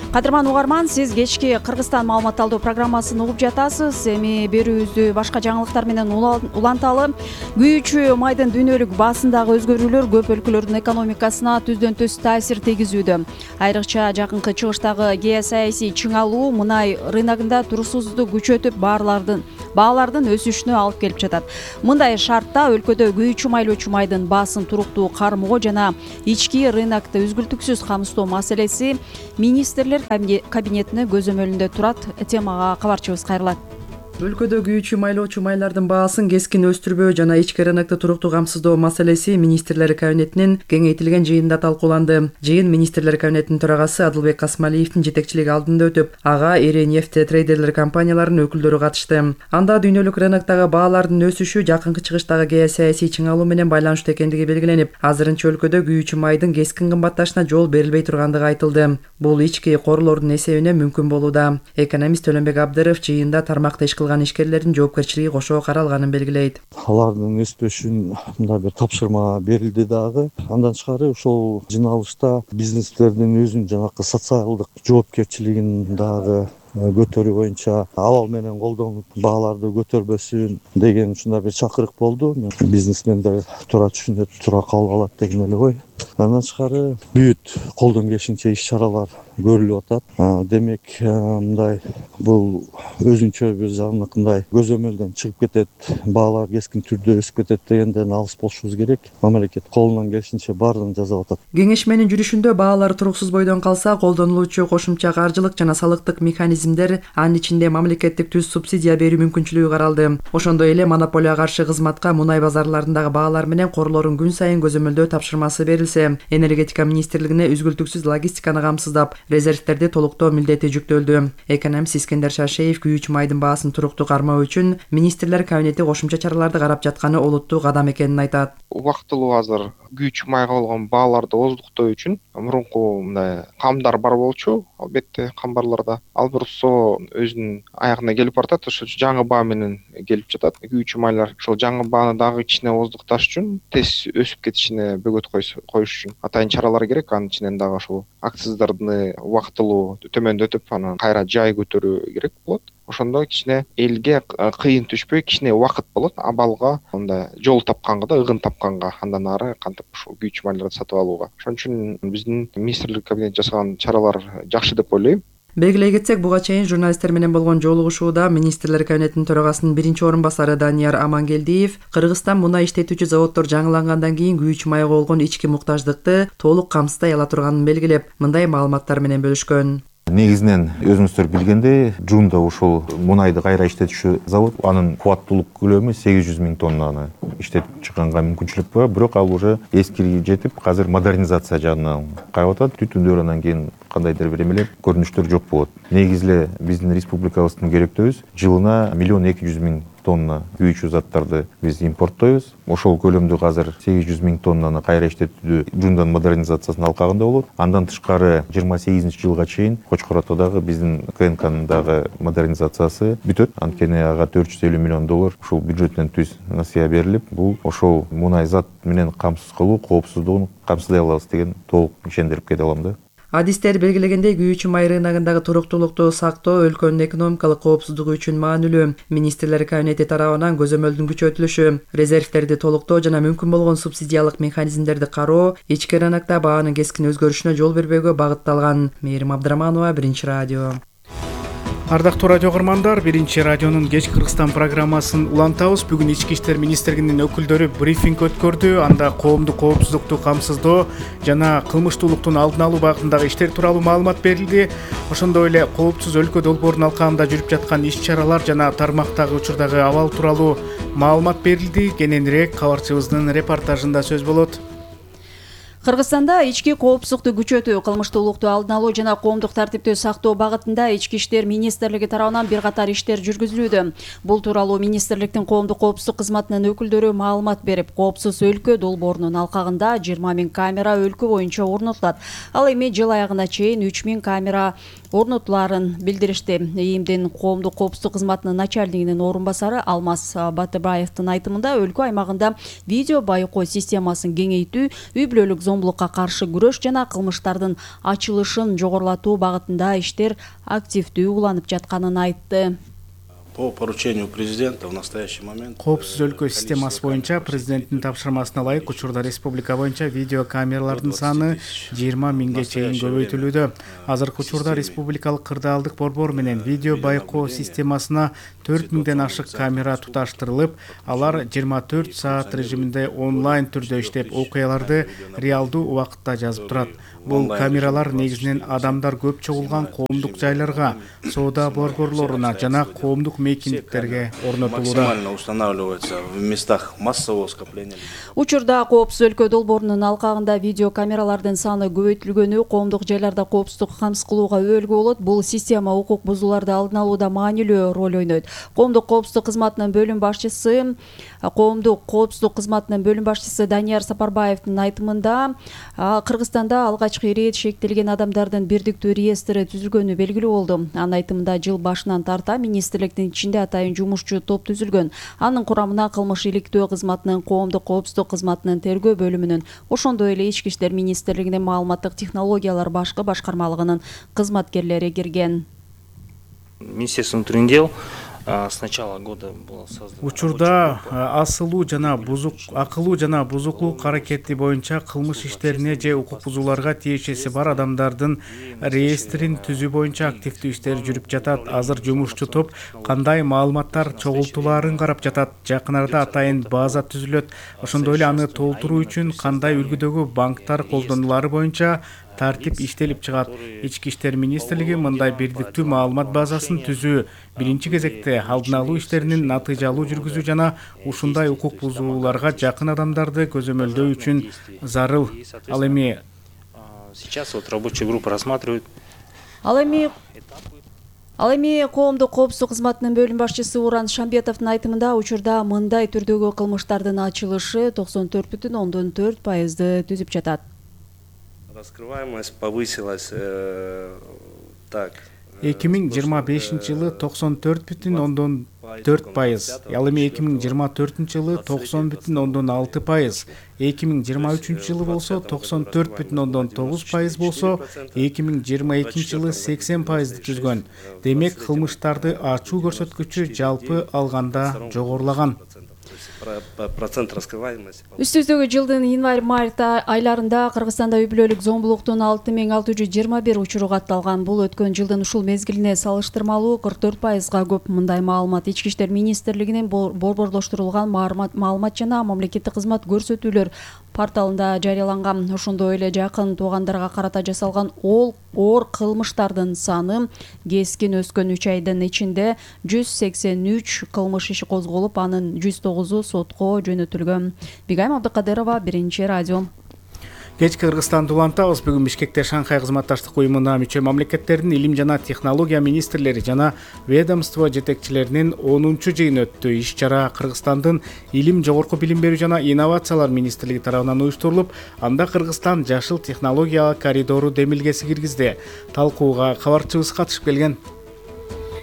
[SPEAKER 2] Кадырман угарман, сиз кечки Кыргызстан маалымат алуу программасын угуп жатасыз. Эми берүүбүздү башка жаңылыктар менен уланталы. Күйүүчү майдын дүйнөлүк баасындагы өзгөрүүлөр көп өлкөлөрдүн экономикасына түздөн түз таасир тийгизүүдө. Айрыкча жакынкы чыгыштагы геосаясий чыңалуу мынай рыногунда туруксуздукту күчөтүп баалардын өсүшүнө алып келип жатат. Мындай шартта өлкөдө күйүүчү майлоочу майдын баасын туруктуу кармоо жана ички рынокто үзгүлтүксүз камсыздоо маселеси министрлер кабинетине көзөмөлүндө турат. Темага кабарчыбыз кайрылат.
[SPEAKER 4] Өлкөдө күйүүчү майлоочу майлардын баасын кескин өстүрбөө жана ички рынокто туруктуу камсыздоо маселеси министрлер кабинетинин кеңейтилген жыйынында талкууланды. Жыйын министрлер кабинетинин төрагасы Адылбек Касмалиевдин жетекчилиги алдында өтүп, ага ири нефть трейдерлер компанияларынын өкүлдөрү катышты. Анда дүйнөлүк рыноктогу баалардын өсүшү жакынкы чыгыштагы геосаясий чыңалуу менен байланыштуу экендиги белгиленип, азырынча өлкөдө күйүүчү майдын кескин кымбатташына жол берилбей тургандыгы айтылды. Бул ички корлордун эсебинен мүмкүн болууда. Экономист Төлөнбек Абдыров жыйында тармакта иш кылган ишкерлердин жоопкерчилиги кошо каралганын белгилейт.
[SPEAKER 6] Алардын өспөшүн мындай бир тапшырма берилди дагы. Андан тышкары ошол жыналышта бизнестердин өзүнүн жанакы социалдык жоопкерчилигин дагы көтөрүү боюнча абал менен колдонуп бааларды көтөрбөсүн деген ушундай бир чакырык болду. Бизнесмендер туура түшүнөт, туура кабыл алат деген эле ой. Андан тышкары бүт колдон келишинче иш-чаралар көрүлүп атат. Демек, мындай бул өзүнчө бир жанакындай көзөмөлдөн чыгып кетет, баалар кескин түрдө өсүп кетет дегенден алыс болушубуз керек. Мамлекет колунан келишинче баардыгын жасап атат.
[SPEAKER 4] Кеңешменин жүрүшүндө баалар туруксуз бойдон калса, колдонулуучу кошумча каржылык жана салыктык механизмдер, анын ичинде мамлекеттик түз субсидия берүү мүмкүнчүлүгү каралды. Ошондой эле монополияга каршы кызматка мунай базарларындагы баалар менен корлорун күн сайын көзөмөлдөө тапшырмасы берилсе, энергетика министрлигине үзгүлтүксүз логистиканы камсыздап, резервтерди толуктоо милдети жүктөлдү. Экономист Искендер Шашеев күйүүчү майдын баасын туруктуу кармоо үчүн министрлер кабинети кошумча чараларды карап жатканы олуттуу кадам экенин айтат.
[SPEAKER 7] Убактылуу азыр күйүүчү майга болгон бааларды ооздуктоо үчүн мурунку мындай камдар бар болчу, албетте камбарларда. Ал бурусо өзүнүн аягына келип баратат, ошол жаңы баа менен келип жатат. Күйүүчү майлар ошол жаңы бааны дагы кичине ооздукташ үчүн, тез өсүп кетишине бөгөт коюш үчүн атайын чаралар керек. Анын ичинен дагы ошол акциздарды убактылуу төмөндөтүп, анан кайра жай көтөрүү керек болот. Ошондо кичине элге кыйын түшпөй, кичине убакыт болот абалга, мындай жол тапканга да, ыгын тапканга, андан ары кантип ушул күйүүчү майларды сатып алууга. Ошон үчүн биздин министрлик кабинети жасаган чаралар жакшы деп ойлойм.
[SPEAKER 4] Белгилей кетсек, буга чейин журналисттер менен болгон жолугушууда министрлер кабинетинин төрагасынын биринчи орун басары Данияр Амангелдиев Кыргызстан мунай иштетүүчү заводдор жаңылангандан кийин күйүүчү майга болгон ички муктаждыкты толук камсыздай ала турганын белгилеп, мындай маалыматтар менен бөлүшкөн.
[SPEAKER 8] Негизинен өзүңүздөр билгендей, Жунда ушул мунайды кайра иштетүүчү завод, анын кубаттуулук көлөмү 800 000 тоннаны иштетип чыкканга мүмкүнчүлүк бар, бирок ал уже эскирип жетип, азыр модернизация жагынан карап атат. Түтүндөр анан кийин кандайдыр бир эмелер көрүнүштөр жок болот. Негизиле биздин республикабыздын керектөөбүз жылына 1 200 000 тонна күйүүчү заттарды биз импорттойбуз. Ошол көлөмдү азыр 800 000 тоннаны кайра иштетүүдө Жундан модернизациясынын алкагында болот. Андан тышкары 28 жылга чейин Кочкор атадагы биздин КНКнын дагы модернизациясы бүтөт. Анткени ага $450 миллион ушул бюджеттен түз насыя берилип, бул ошол мунай зат менен камсыз кылуу, коопсуздугун камсыздай алабыз деген толук ишендирип кете алам да.
[SPEAKER 4] Адистер белгилегендей, күйүүчү май рыногундагы туруктуулукту сактоо өлкөнүн экономикалык коопсуздугу үчүн маанилүү. Министрлер кабинети тарабынан көзөмөлдүн күчөтүлүшү, резервтерди толуктоо жана мүмкүн болгон субсидиялык механизмдерди кароо ички рынокто баанын кескин өзгөрүшүнө жол бербөөгө багытталган. Мээрим Абдыраманова, 1 радио.
[SPEAKER 1] Ардактуу радио көрмандар, 1 радионун кеч Кыргызстан программасын улантабыз. Бүгүн Ички иштер министрлигинин өкүлдөрү брифинг өткөрдү. Анда коомдук коопсуздукту камсыздоо жана кылмыштуулуктун алдын алуу багытындагы иштер тууралуу маалымат берилди. Ошондой эле коопсуз өлкө долбоорунун алкагында жүрүп жаткан иш-чаралар жана тармактагы учурдагы абал тууралуу маалымат берилди. Кененирээк кабарчыбыздын репортажында сөз болот.
[SPEAKER 2] Кыргызстанда ички коопсуздукту күчөтүү, кылмыштуулукту алдын алуу жана коомдук тартипти сактоо багытында Ички иштер министрлиги тарабынан бир катар иштер жүргүзүлүүдө. Бул тууралуу министрликтин коомдук коопсуздук кызматынын өкүлдөрү маалымат берип, коопсуз өлкө долбоорунун алкагында 20 000 камера өлкө боюнча орнотулат. Ал эми жыл аягына чейин 3 000 камера орнотуларын билдиришти. ИИМдин коомдук коопсуздук кызматынын начальнигинин орун басары Алмаз Батыбаевдин айтымында өлкө аймагында видео байкоо системасын кеңейтүү, үй бүлөлүк зомбулукка каршы күрөш жана кылмыштардын ачылышын жогорулатуу багытында иштер активдүү уланып жатканын айтты.
[SPEAKER 11] По поручению президента в настоящий момент
[SPEAKER 1] Коопсуз өлкө системасы боюнча президенттин тапшырмасына ылайык учурда республика боюнча видео камералардын саны 20 000ге чейин көбөйтүлүүдө. Азыркы учурда республикалык кырдаалдык борбор менен видео байкоо системасына 4 000ден ашык камера туташтырылып, алар 24 саат режиминде онлайн түрдө иштеп, окуяларды реалдуу убакытта жазып турат. Бул камералар негизинен адамдар көп чогулган коомдук жайларга, соода борборлоруна жана коомдук мейкиндиктерге орнотулууда.
[SPEAKER 11] Максимально устанавливается в местах массового скопления.
[SPEAKER 2] Учурда коопсуз өлкө долбоорунун алкагында видео камералардын саны көбөйтүлгөнү коомдук жайларда коопсуздук камсыз кылууга өбөлгө болот. Бул система укук бузууларды алдын алууда маанилүү роль ойнойт. Коомдук коопсуздук кызматынын бөлүм башчысы Данияр Сапарбаевдин айтымында, Кыргызстанда алгачкы ирет шектелген адамдардын бирдиктүү реестри түзүлгөнү белгилүү болду. Анын айтымында жыл башынан тарта министрликтин ичинде атайын жумушчу топ түзүлгөн. Анын курамына кылмыш иликтөө кызматынын, коомдук коопсуздук кызматынын тергөө бөлүмүнүн, ошондой эле Ички иштер министрлигинин маалыматтык технологиялар башкы башкармалыгынын кызматкерлери кирген.
[SPEAKER 12] Министерство внутренних дел с начала года было создано.
[SPEAKER 1] Учурда акылуу жана бузуклук аракети боюнча кылмыш иштерине же укук бузууларга тиешеси бар адамдардын реестрин түзүү боюнча активдүү иштер жүрүп жатат. Азыр жумушчу топ кандай маалыматтар чогултулаарын карап жатат. Жакын арада атайын база түзүлөт. Ошондой эле аны толтуруу үчүн кандай үлгүдөгү банктар колдонулары боюнча тартип иштелип чыгат. Ички иштер министрлиги мындай бирдиктүү маалымат базасын түзүү, биринчи кезекте алдын алуу иштеринин натыйжалуу жүргүзүү жана ушундай укук бузууларга жакын адамдарды көзөмөлдөө үчүн зарыл. Ал эми
[SPEAKER 12] сейчас вот рабочая группа рассматривает.
[SPEAKER 2] Ал эми коомдук коопсуздук кызматынын бөлүм башчысы Уран Шамбетовдун айтымында учурда мындай түрдөгү кылмыштардын ачылышы 94,4% түзүп жатат.
[SPEAKER 11] Раскрываемость повысилась так.
[SPEAKER 1] 2025 жылы 94,4%, ал эми 2024 жылы 90,6%, 2023 жылы болсо 94,9% болсо, 2022 жылы 80% түзгөн. Демек, кылмыштарды ачуу көрсөткүчү жалпы алганда жогорулаган.
[SPEAKER 11] Процент раскрываемости.
[SPEAKER 2] Үстүздөгү жылдын январь-март айларында Кыргызстанда үй бүлөлүк зомбулуктун 6621 учуру катталган. Бул өткөн жылдын ушул мезгилине салыштырмалуу 44%га көп. Мындай маалымат Ички иштер министрлигинин борборлоштурулган маалымат жана мамлекеттик кызмат көрсөтүүлөр порталында жарыяланган. Ошондой эле жакын туугандарга карата жасалган оор кылмыштардын саны кескин өскөн. 3 айдын ичинде 183 кылмыш иши козголуп, анын 109 сотко жөнөтүлгөн. Бигайым Абдыкадырова, Биринчи радио.
[SPEAKER 1] Кечки Кыргызстанды улантабыз. Бүгүн Бишкекте Шанхай кызматташтык уюмуна мүчө мамлекеттердин илим жана технология министрлери жана ведомство жетекчилеринин 10-чу жыйыны өттү. Иш-чара Кыргызстандын илим, жогорку билим берүү жана инновациялар министрлиги тарабынан уюштурулуп, анда Кыргызстан жашыл технология коридору демилгеси киргизди. Талкууга кабарчыбыз катышып келген.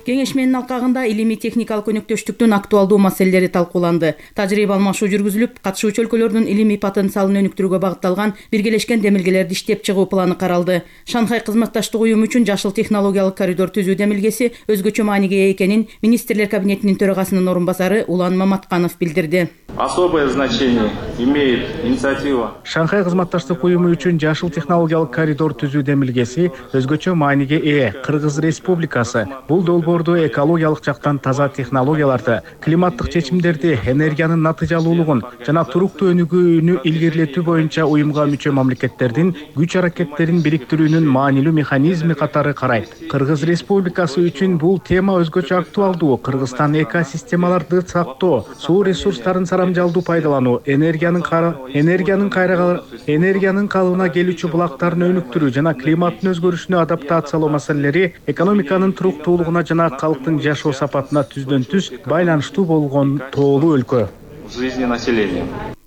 [SPEAKER 13] Кеңешменин алкагында илимий-техникалык өнөктөштүктүн актуалдуу маселелери талкууланды. Тажрыйба алмашуу жүргүзүлүп, катышуучу өлкөлөрдүн илимий потенциалын өнүктүрүүгө багытталган биргелешкен демилгелерди иштеп чыгуу планы каралды. Шанхай кызматташтык уюму үчүн жашыл технологиялык коридор түзүү демилгеси өзгөчө мааниге ээ экенин министрлер кабинетинин төрагасынын орун басары Улан Маматканов билдирди.
[SPEAKER 14] Особое значение имеет инициатива.
[SPEAKER 1] Шанхай кызматташтык уюму үчүн жашыл технологиялык коридор түзүү демилгеси өзгөчө мааниге ээ. Кыргыз Республикасы бул долбоор өлкөлөрдө экологиялык жактан таза технологияларды, климаттык чечимдерди, энергиянын натыйжалуулугун жана туруктуу өнүгүүнү илгерилетүү боюнча уюмга мүчө мамлекеттердин күч аракеттерин бириктирүүнүн маанилүү механизми катары карайт. Кыргыз Республикасы үчүн бул тема өзгөчө актуалдуу. Кыргызстан экосистемаларды сактоо, суу ресурстарын сарамжалдуу пайдалануу, энергиянын калыбына келүүчү булактарын өнүктүрүү жана климаттын өзгөрүшүнө адаптациялоо маселелери экономиканын туруктуулугуна жана калктын жашоо сапатына түздөн-түз байланыштуу болгон тоолуу өлкө.
[SPEAKER 14] Жизни населения.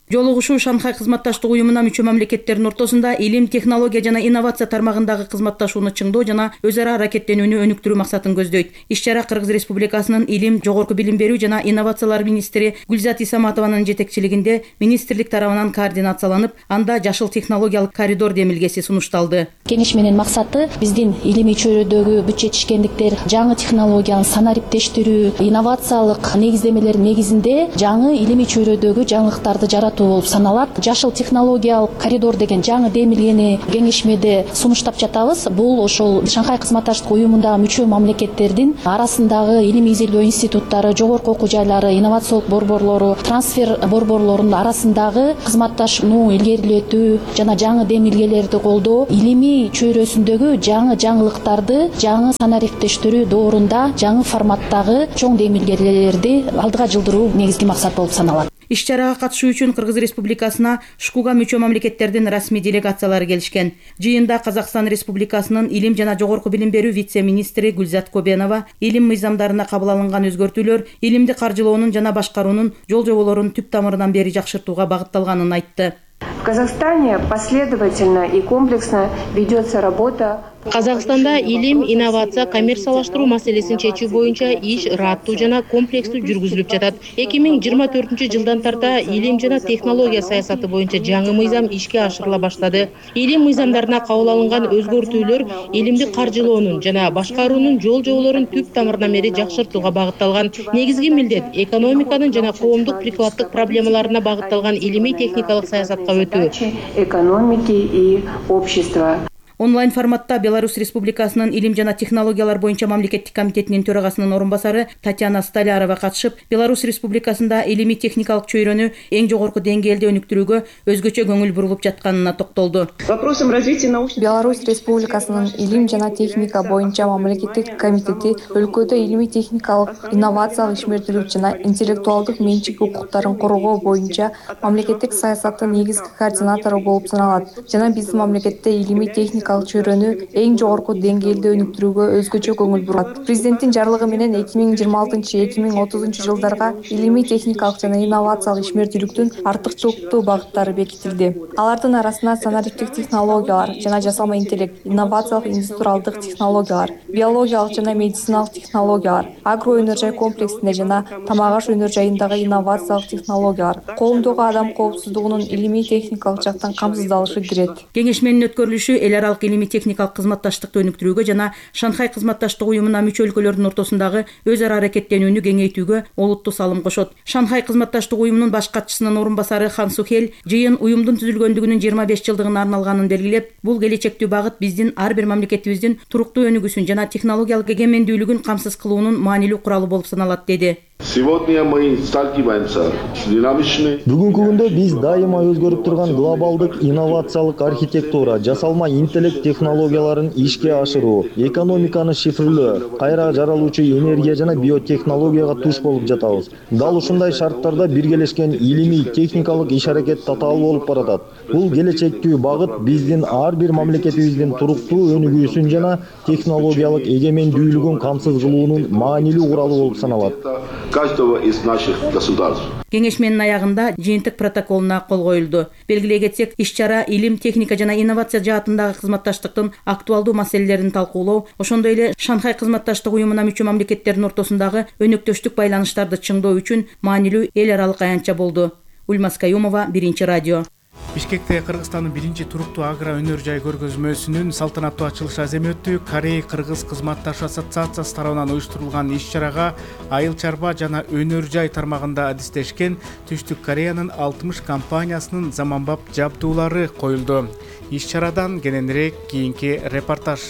[SPEAKER 13] Жолугушуу Шанхай кызматташтык уюмуна мүчө мамлекеттердин ортосунда илим, технология жана инновация тармагындагы кызматташууну чыңдоо жана өз ара аракеттенүүнү өнүктүрүү максатын көздөйт. Иш-чара Кыргыз Республикасынын илим, жогорку билим берүү жана инновациялар министри Гүлзат Исаматованын жетекчилигинде министрлик тарабынан координацияланып, анда жашыл технологиялык коридор демилгеси сунушталды.
[SPEAKER 10] Кеңеш менен максаты биздин илимий чөйрөдөгү бүт жетишкендиктер, жаңы технологиянын санариптештирүү, инновациялык негиздемелер негизинде жаңы илимий чөйрөдөгү жаңылыктарды жаратуу болуп саналат. Жашыл технологиялык коридор деген жаңы демилгени кеңешмеде сунуштап жатабыз. Бул ошол Шанхай кызматташтык уюмундагы мүчө мамлекеттердин арасындагы илимий изилдөө институттары, жогорку окуу жайлары, инновациялык борборлору, трансфер борборлорунун арасындагы кызматташууну илгерилетүү жана жаңы демилгелерди колдоо, илимий чөйрөсүндөгү жаңы жаңылыктарды жаңы санариптештирүү доорунда жаңы форматтагы чоң демилгелерди алдыга жылдыруу негизги максат болуп саналат.
[SPEAKER 13] Иш-чарага катышуу үчүн Кыргыз Республикасына ШКУга мүчө мамлекеттердин расмий делегациялары келишкен. Жыйында Казакстан Республикасынын илим жана жогорку билим берүү вице-министри Гүлзат Кобенова илим мыйзамдарына кабыл алынган өзгөртүүлөр илимди каржылоонун жана башкаруунун жол-жоболорун түп тамырынан бери жакшыртууга багытталганын айтты.
[SPEAKER 15] В Казахстане последовательно и комплексно ведется работа.
[SPEAKER 16] Казакстанда илим, инновация, коммерциялаштыруу маселесин чечүү боюнча иш ыраттуу жана комплекстүү жүргүзүлүп жатат. 2024-жылдан тарта илим жана технология саясаты боюнча жаңы мыйзам ишке ашырыла баштады. Илим мыйзамдарына кабыл алынган өзгөртүүлөр илимди каржылоонун жана башкаруунун жол-жоболорун түп тамырынан бери жакшыртууга багытталган. Негизги милдет экономиканын жана коомдук прикладдык проблемаларына багытталган илимий техникалык саясатка өтүү.
[SPEAKER 15] Экономики и общества.
[SPEAKER 13] Онлайн форматта Беларусь Республикасынын илим жана технологиялар боюнча мамлекеттик комитетинин төрагасынын орун басары Татьяна Столярова катышып, Беларусь Республикасында илимий техникалык чөйрөнү эң жогорку деңгээлде өнүктүрүүгө өзгөчө көңүл бурулуп жатканына токтолду.
[SPEAKER 18] Вопросом развития научных Беларусь Республикасынын илим жана техника боюнча мамлекеттик комитети өлкөдө илимий техникалык инновациялык ишмердүүлүк жана интеллектуалдык менчик укуктарын коргоо боюнча мамлекеттик саясаттын негизги координатору болуп саналат жана биздин мамлекетте илимий техника чөйрөнү эң жогорку деңгээлде өнүктүрүүгө өзгөчө көңүл бурат. Президенттин жарлыгы менен 2026-2030 жылдарга илимий техникалык жана инновациялык ишмердүүлүктүн артыкчылыктуу багыттары бекитилди. Алардын арасында санариптик технологиялар жана жасалма интеллект, инновациялык индустриалдык технологиялар, биологиялык жана медициналык технологиялар, агроөнөр-жай комплексинде жана тамак-аш өнөр жайындагы инновациялык технологиялар, коомдогу адам коопсуздугунун илимий техникалык жактан камсыздалышы кирет.
[SPEAKER 13] Кеңешменин өткөрүлүшү эл аралык илимий техникалык кызматташтыкты өнүктүрүүгө жана Шанхай кызматташтык уюмуна мүчө өлкөлөрдүн ортосундагы өз ара аракеттенүүнү кеңейтүүгө олуттуу салым кошот. Шанхай кызматташтык уюмунун баш катчысынын орун басары Хан Сухель жыйын уюмдун түзүлгөндүгүнүн 25 жылдыгына арналганын белгилеп, бул келечектүү багыт биздин ар бир мамлекетибиздин туруктуу өнүгүүсүн жана технологиялык эгемендүүлүгүн камсыз кылуунун маанилүү куралы болуп саналат деди.
[SPEAKER 3] Бүгүнкү күндө биз дайыма өзгөрүп турган глобалдык инновациялык архитектура, жасалма интеллект технологияларын ишке ашыруу, экономиканы шифрлөө, кайра жаралуучу энергия жана биотехнологияга туш болуп жатабыз. Дал ушундай шарттарда биргелешкен илимий техникалык иш-аракет татаал болуп баратат. Бул келечектүү багыт биздин ар бир мамлекетибиздин туруктуу өнүгүүсүн жана технологиялык эгемендүүлүгүн камсыз кылуунун маанилүү куралы болуп саналат.
[SPEAKER 25] Каждого из наших государств.
[SPEAKER 13] Кеңешменин аягында жыйынтык протоколуна кол коюлду. Белгилей кетсек, иш-чара илим, техника жана инновация жаатындагы кызматташтыктын актуалдуу маселелерин талкуулоо, ошондой эле Шанхай кызматташтык уюмуна мүчө мамлекеттердин ортосундагы өнөктөштүк байланыштарды чыңдоо үчүн маанилүү эл аралык аянтча болду. Ульмас Каюмова, Биринчи радио.
[SPEAKER 1] Бишкекте Кыргызстандын биринчи туруктуу агро өнөр жай көргөзмөсүнүн салтанаттуу ачылыш аземи өттү. Корей-Кыргыз кызматташ ассоциациясы тарабынан уюштурулган иш-чарага айыл чарба жана өнөр жай тармагында адистешкен Түштүк Кореянын 60 компаниясынын заманбап жабдуулары коюлду. Иш-чарадан кененирээк кийинки репортаж.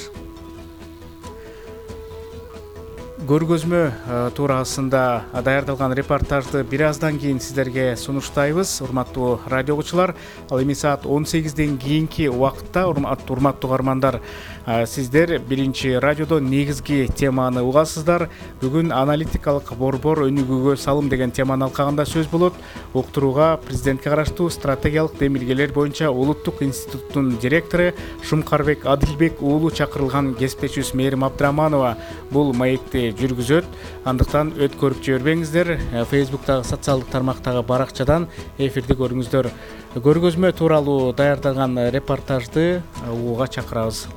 [SPEAKER 1] көргөзмө туурасында даярдалган репортажды бир аздан кийин сиздерге сунуштайбыз, урматтуу радио угуучулар. Ал эми саат 18ден кийинки убакытта, урматтуу угармандар, сиздер биринчи радиодо негизги теманы угасыздар. Бүгүн аналитикалык борбор өнүгүүгө салым деген теманын алкагында сөз болот. Уктурууга президентке караштуу стратегиялык демилгелер боюнча улуттук институттун директору Шумкарбек Адилбек уулу чакырылган. Кесиптешибиз Мээрим Абдыраманова бул маекти жүргүзөт. Андыктан өткөрүп жибербеңиздер. Фейсбуктагы социалдык тармактагы баракчадан эфирди көрүңүздөр. Көргөзмө тууралуу даярдалган репортажды угууга чакырабыз.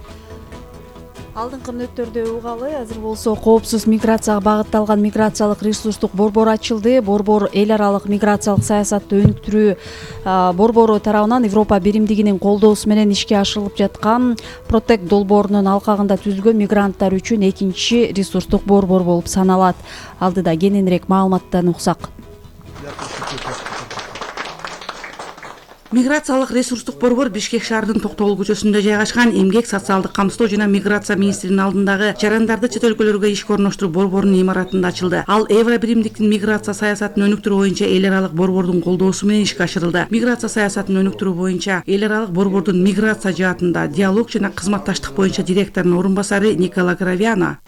[SPEAKER 2] Алдыңкы мүнөттөрдө угалы, азыр болсо коопсуз миграцияга багытталган миграциялык ресурстук борбор ачылды. Борбор эл аралык миграциялык саясатты өнүктүрүү борбору тарабынан Европа биримдигинин колдоосу менен ишке ашырылып жаткан Protect долбоорунун алкагында түзүлгөн мигранттар үчүн экинчи ресурстук борбор болуп саналат. Алдыда кененирээк маалыматтан уксак.
[SPEAKER 19] Миграциялык ресурстук борбор Бишкек шаарынын Токтогул көчөсүндө жайгашкан Эмгек, социалдык камсыздоо жана миграция министринин алдындагы жарандарды чет өлкөлөргө ишке орноштуруу борборунун имаратында ачылды. Ал Евро биримдиктин миграция саясатын өнүктүрүү боюнча эл аралык борбордун колдоосу менен ишке ашырылды. Миграция саясатын өнүктүрүү боюнча эл аралык борбордун миграция жаатында диалог жана кызматташтык боюнча директорунун орун басары Никола Гравиано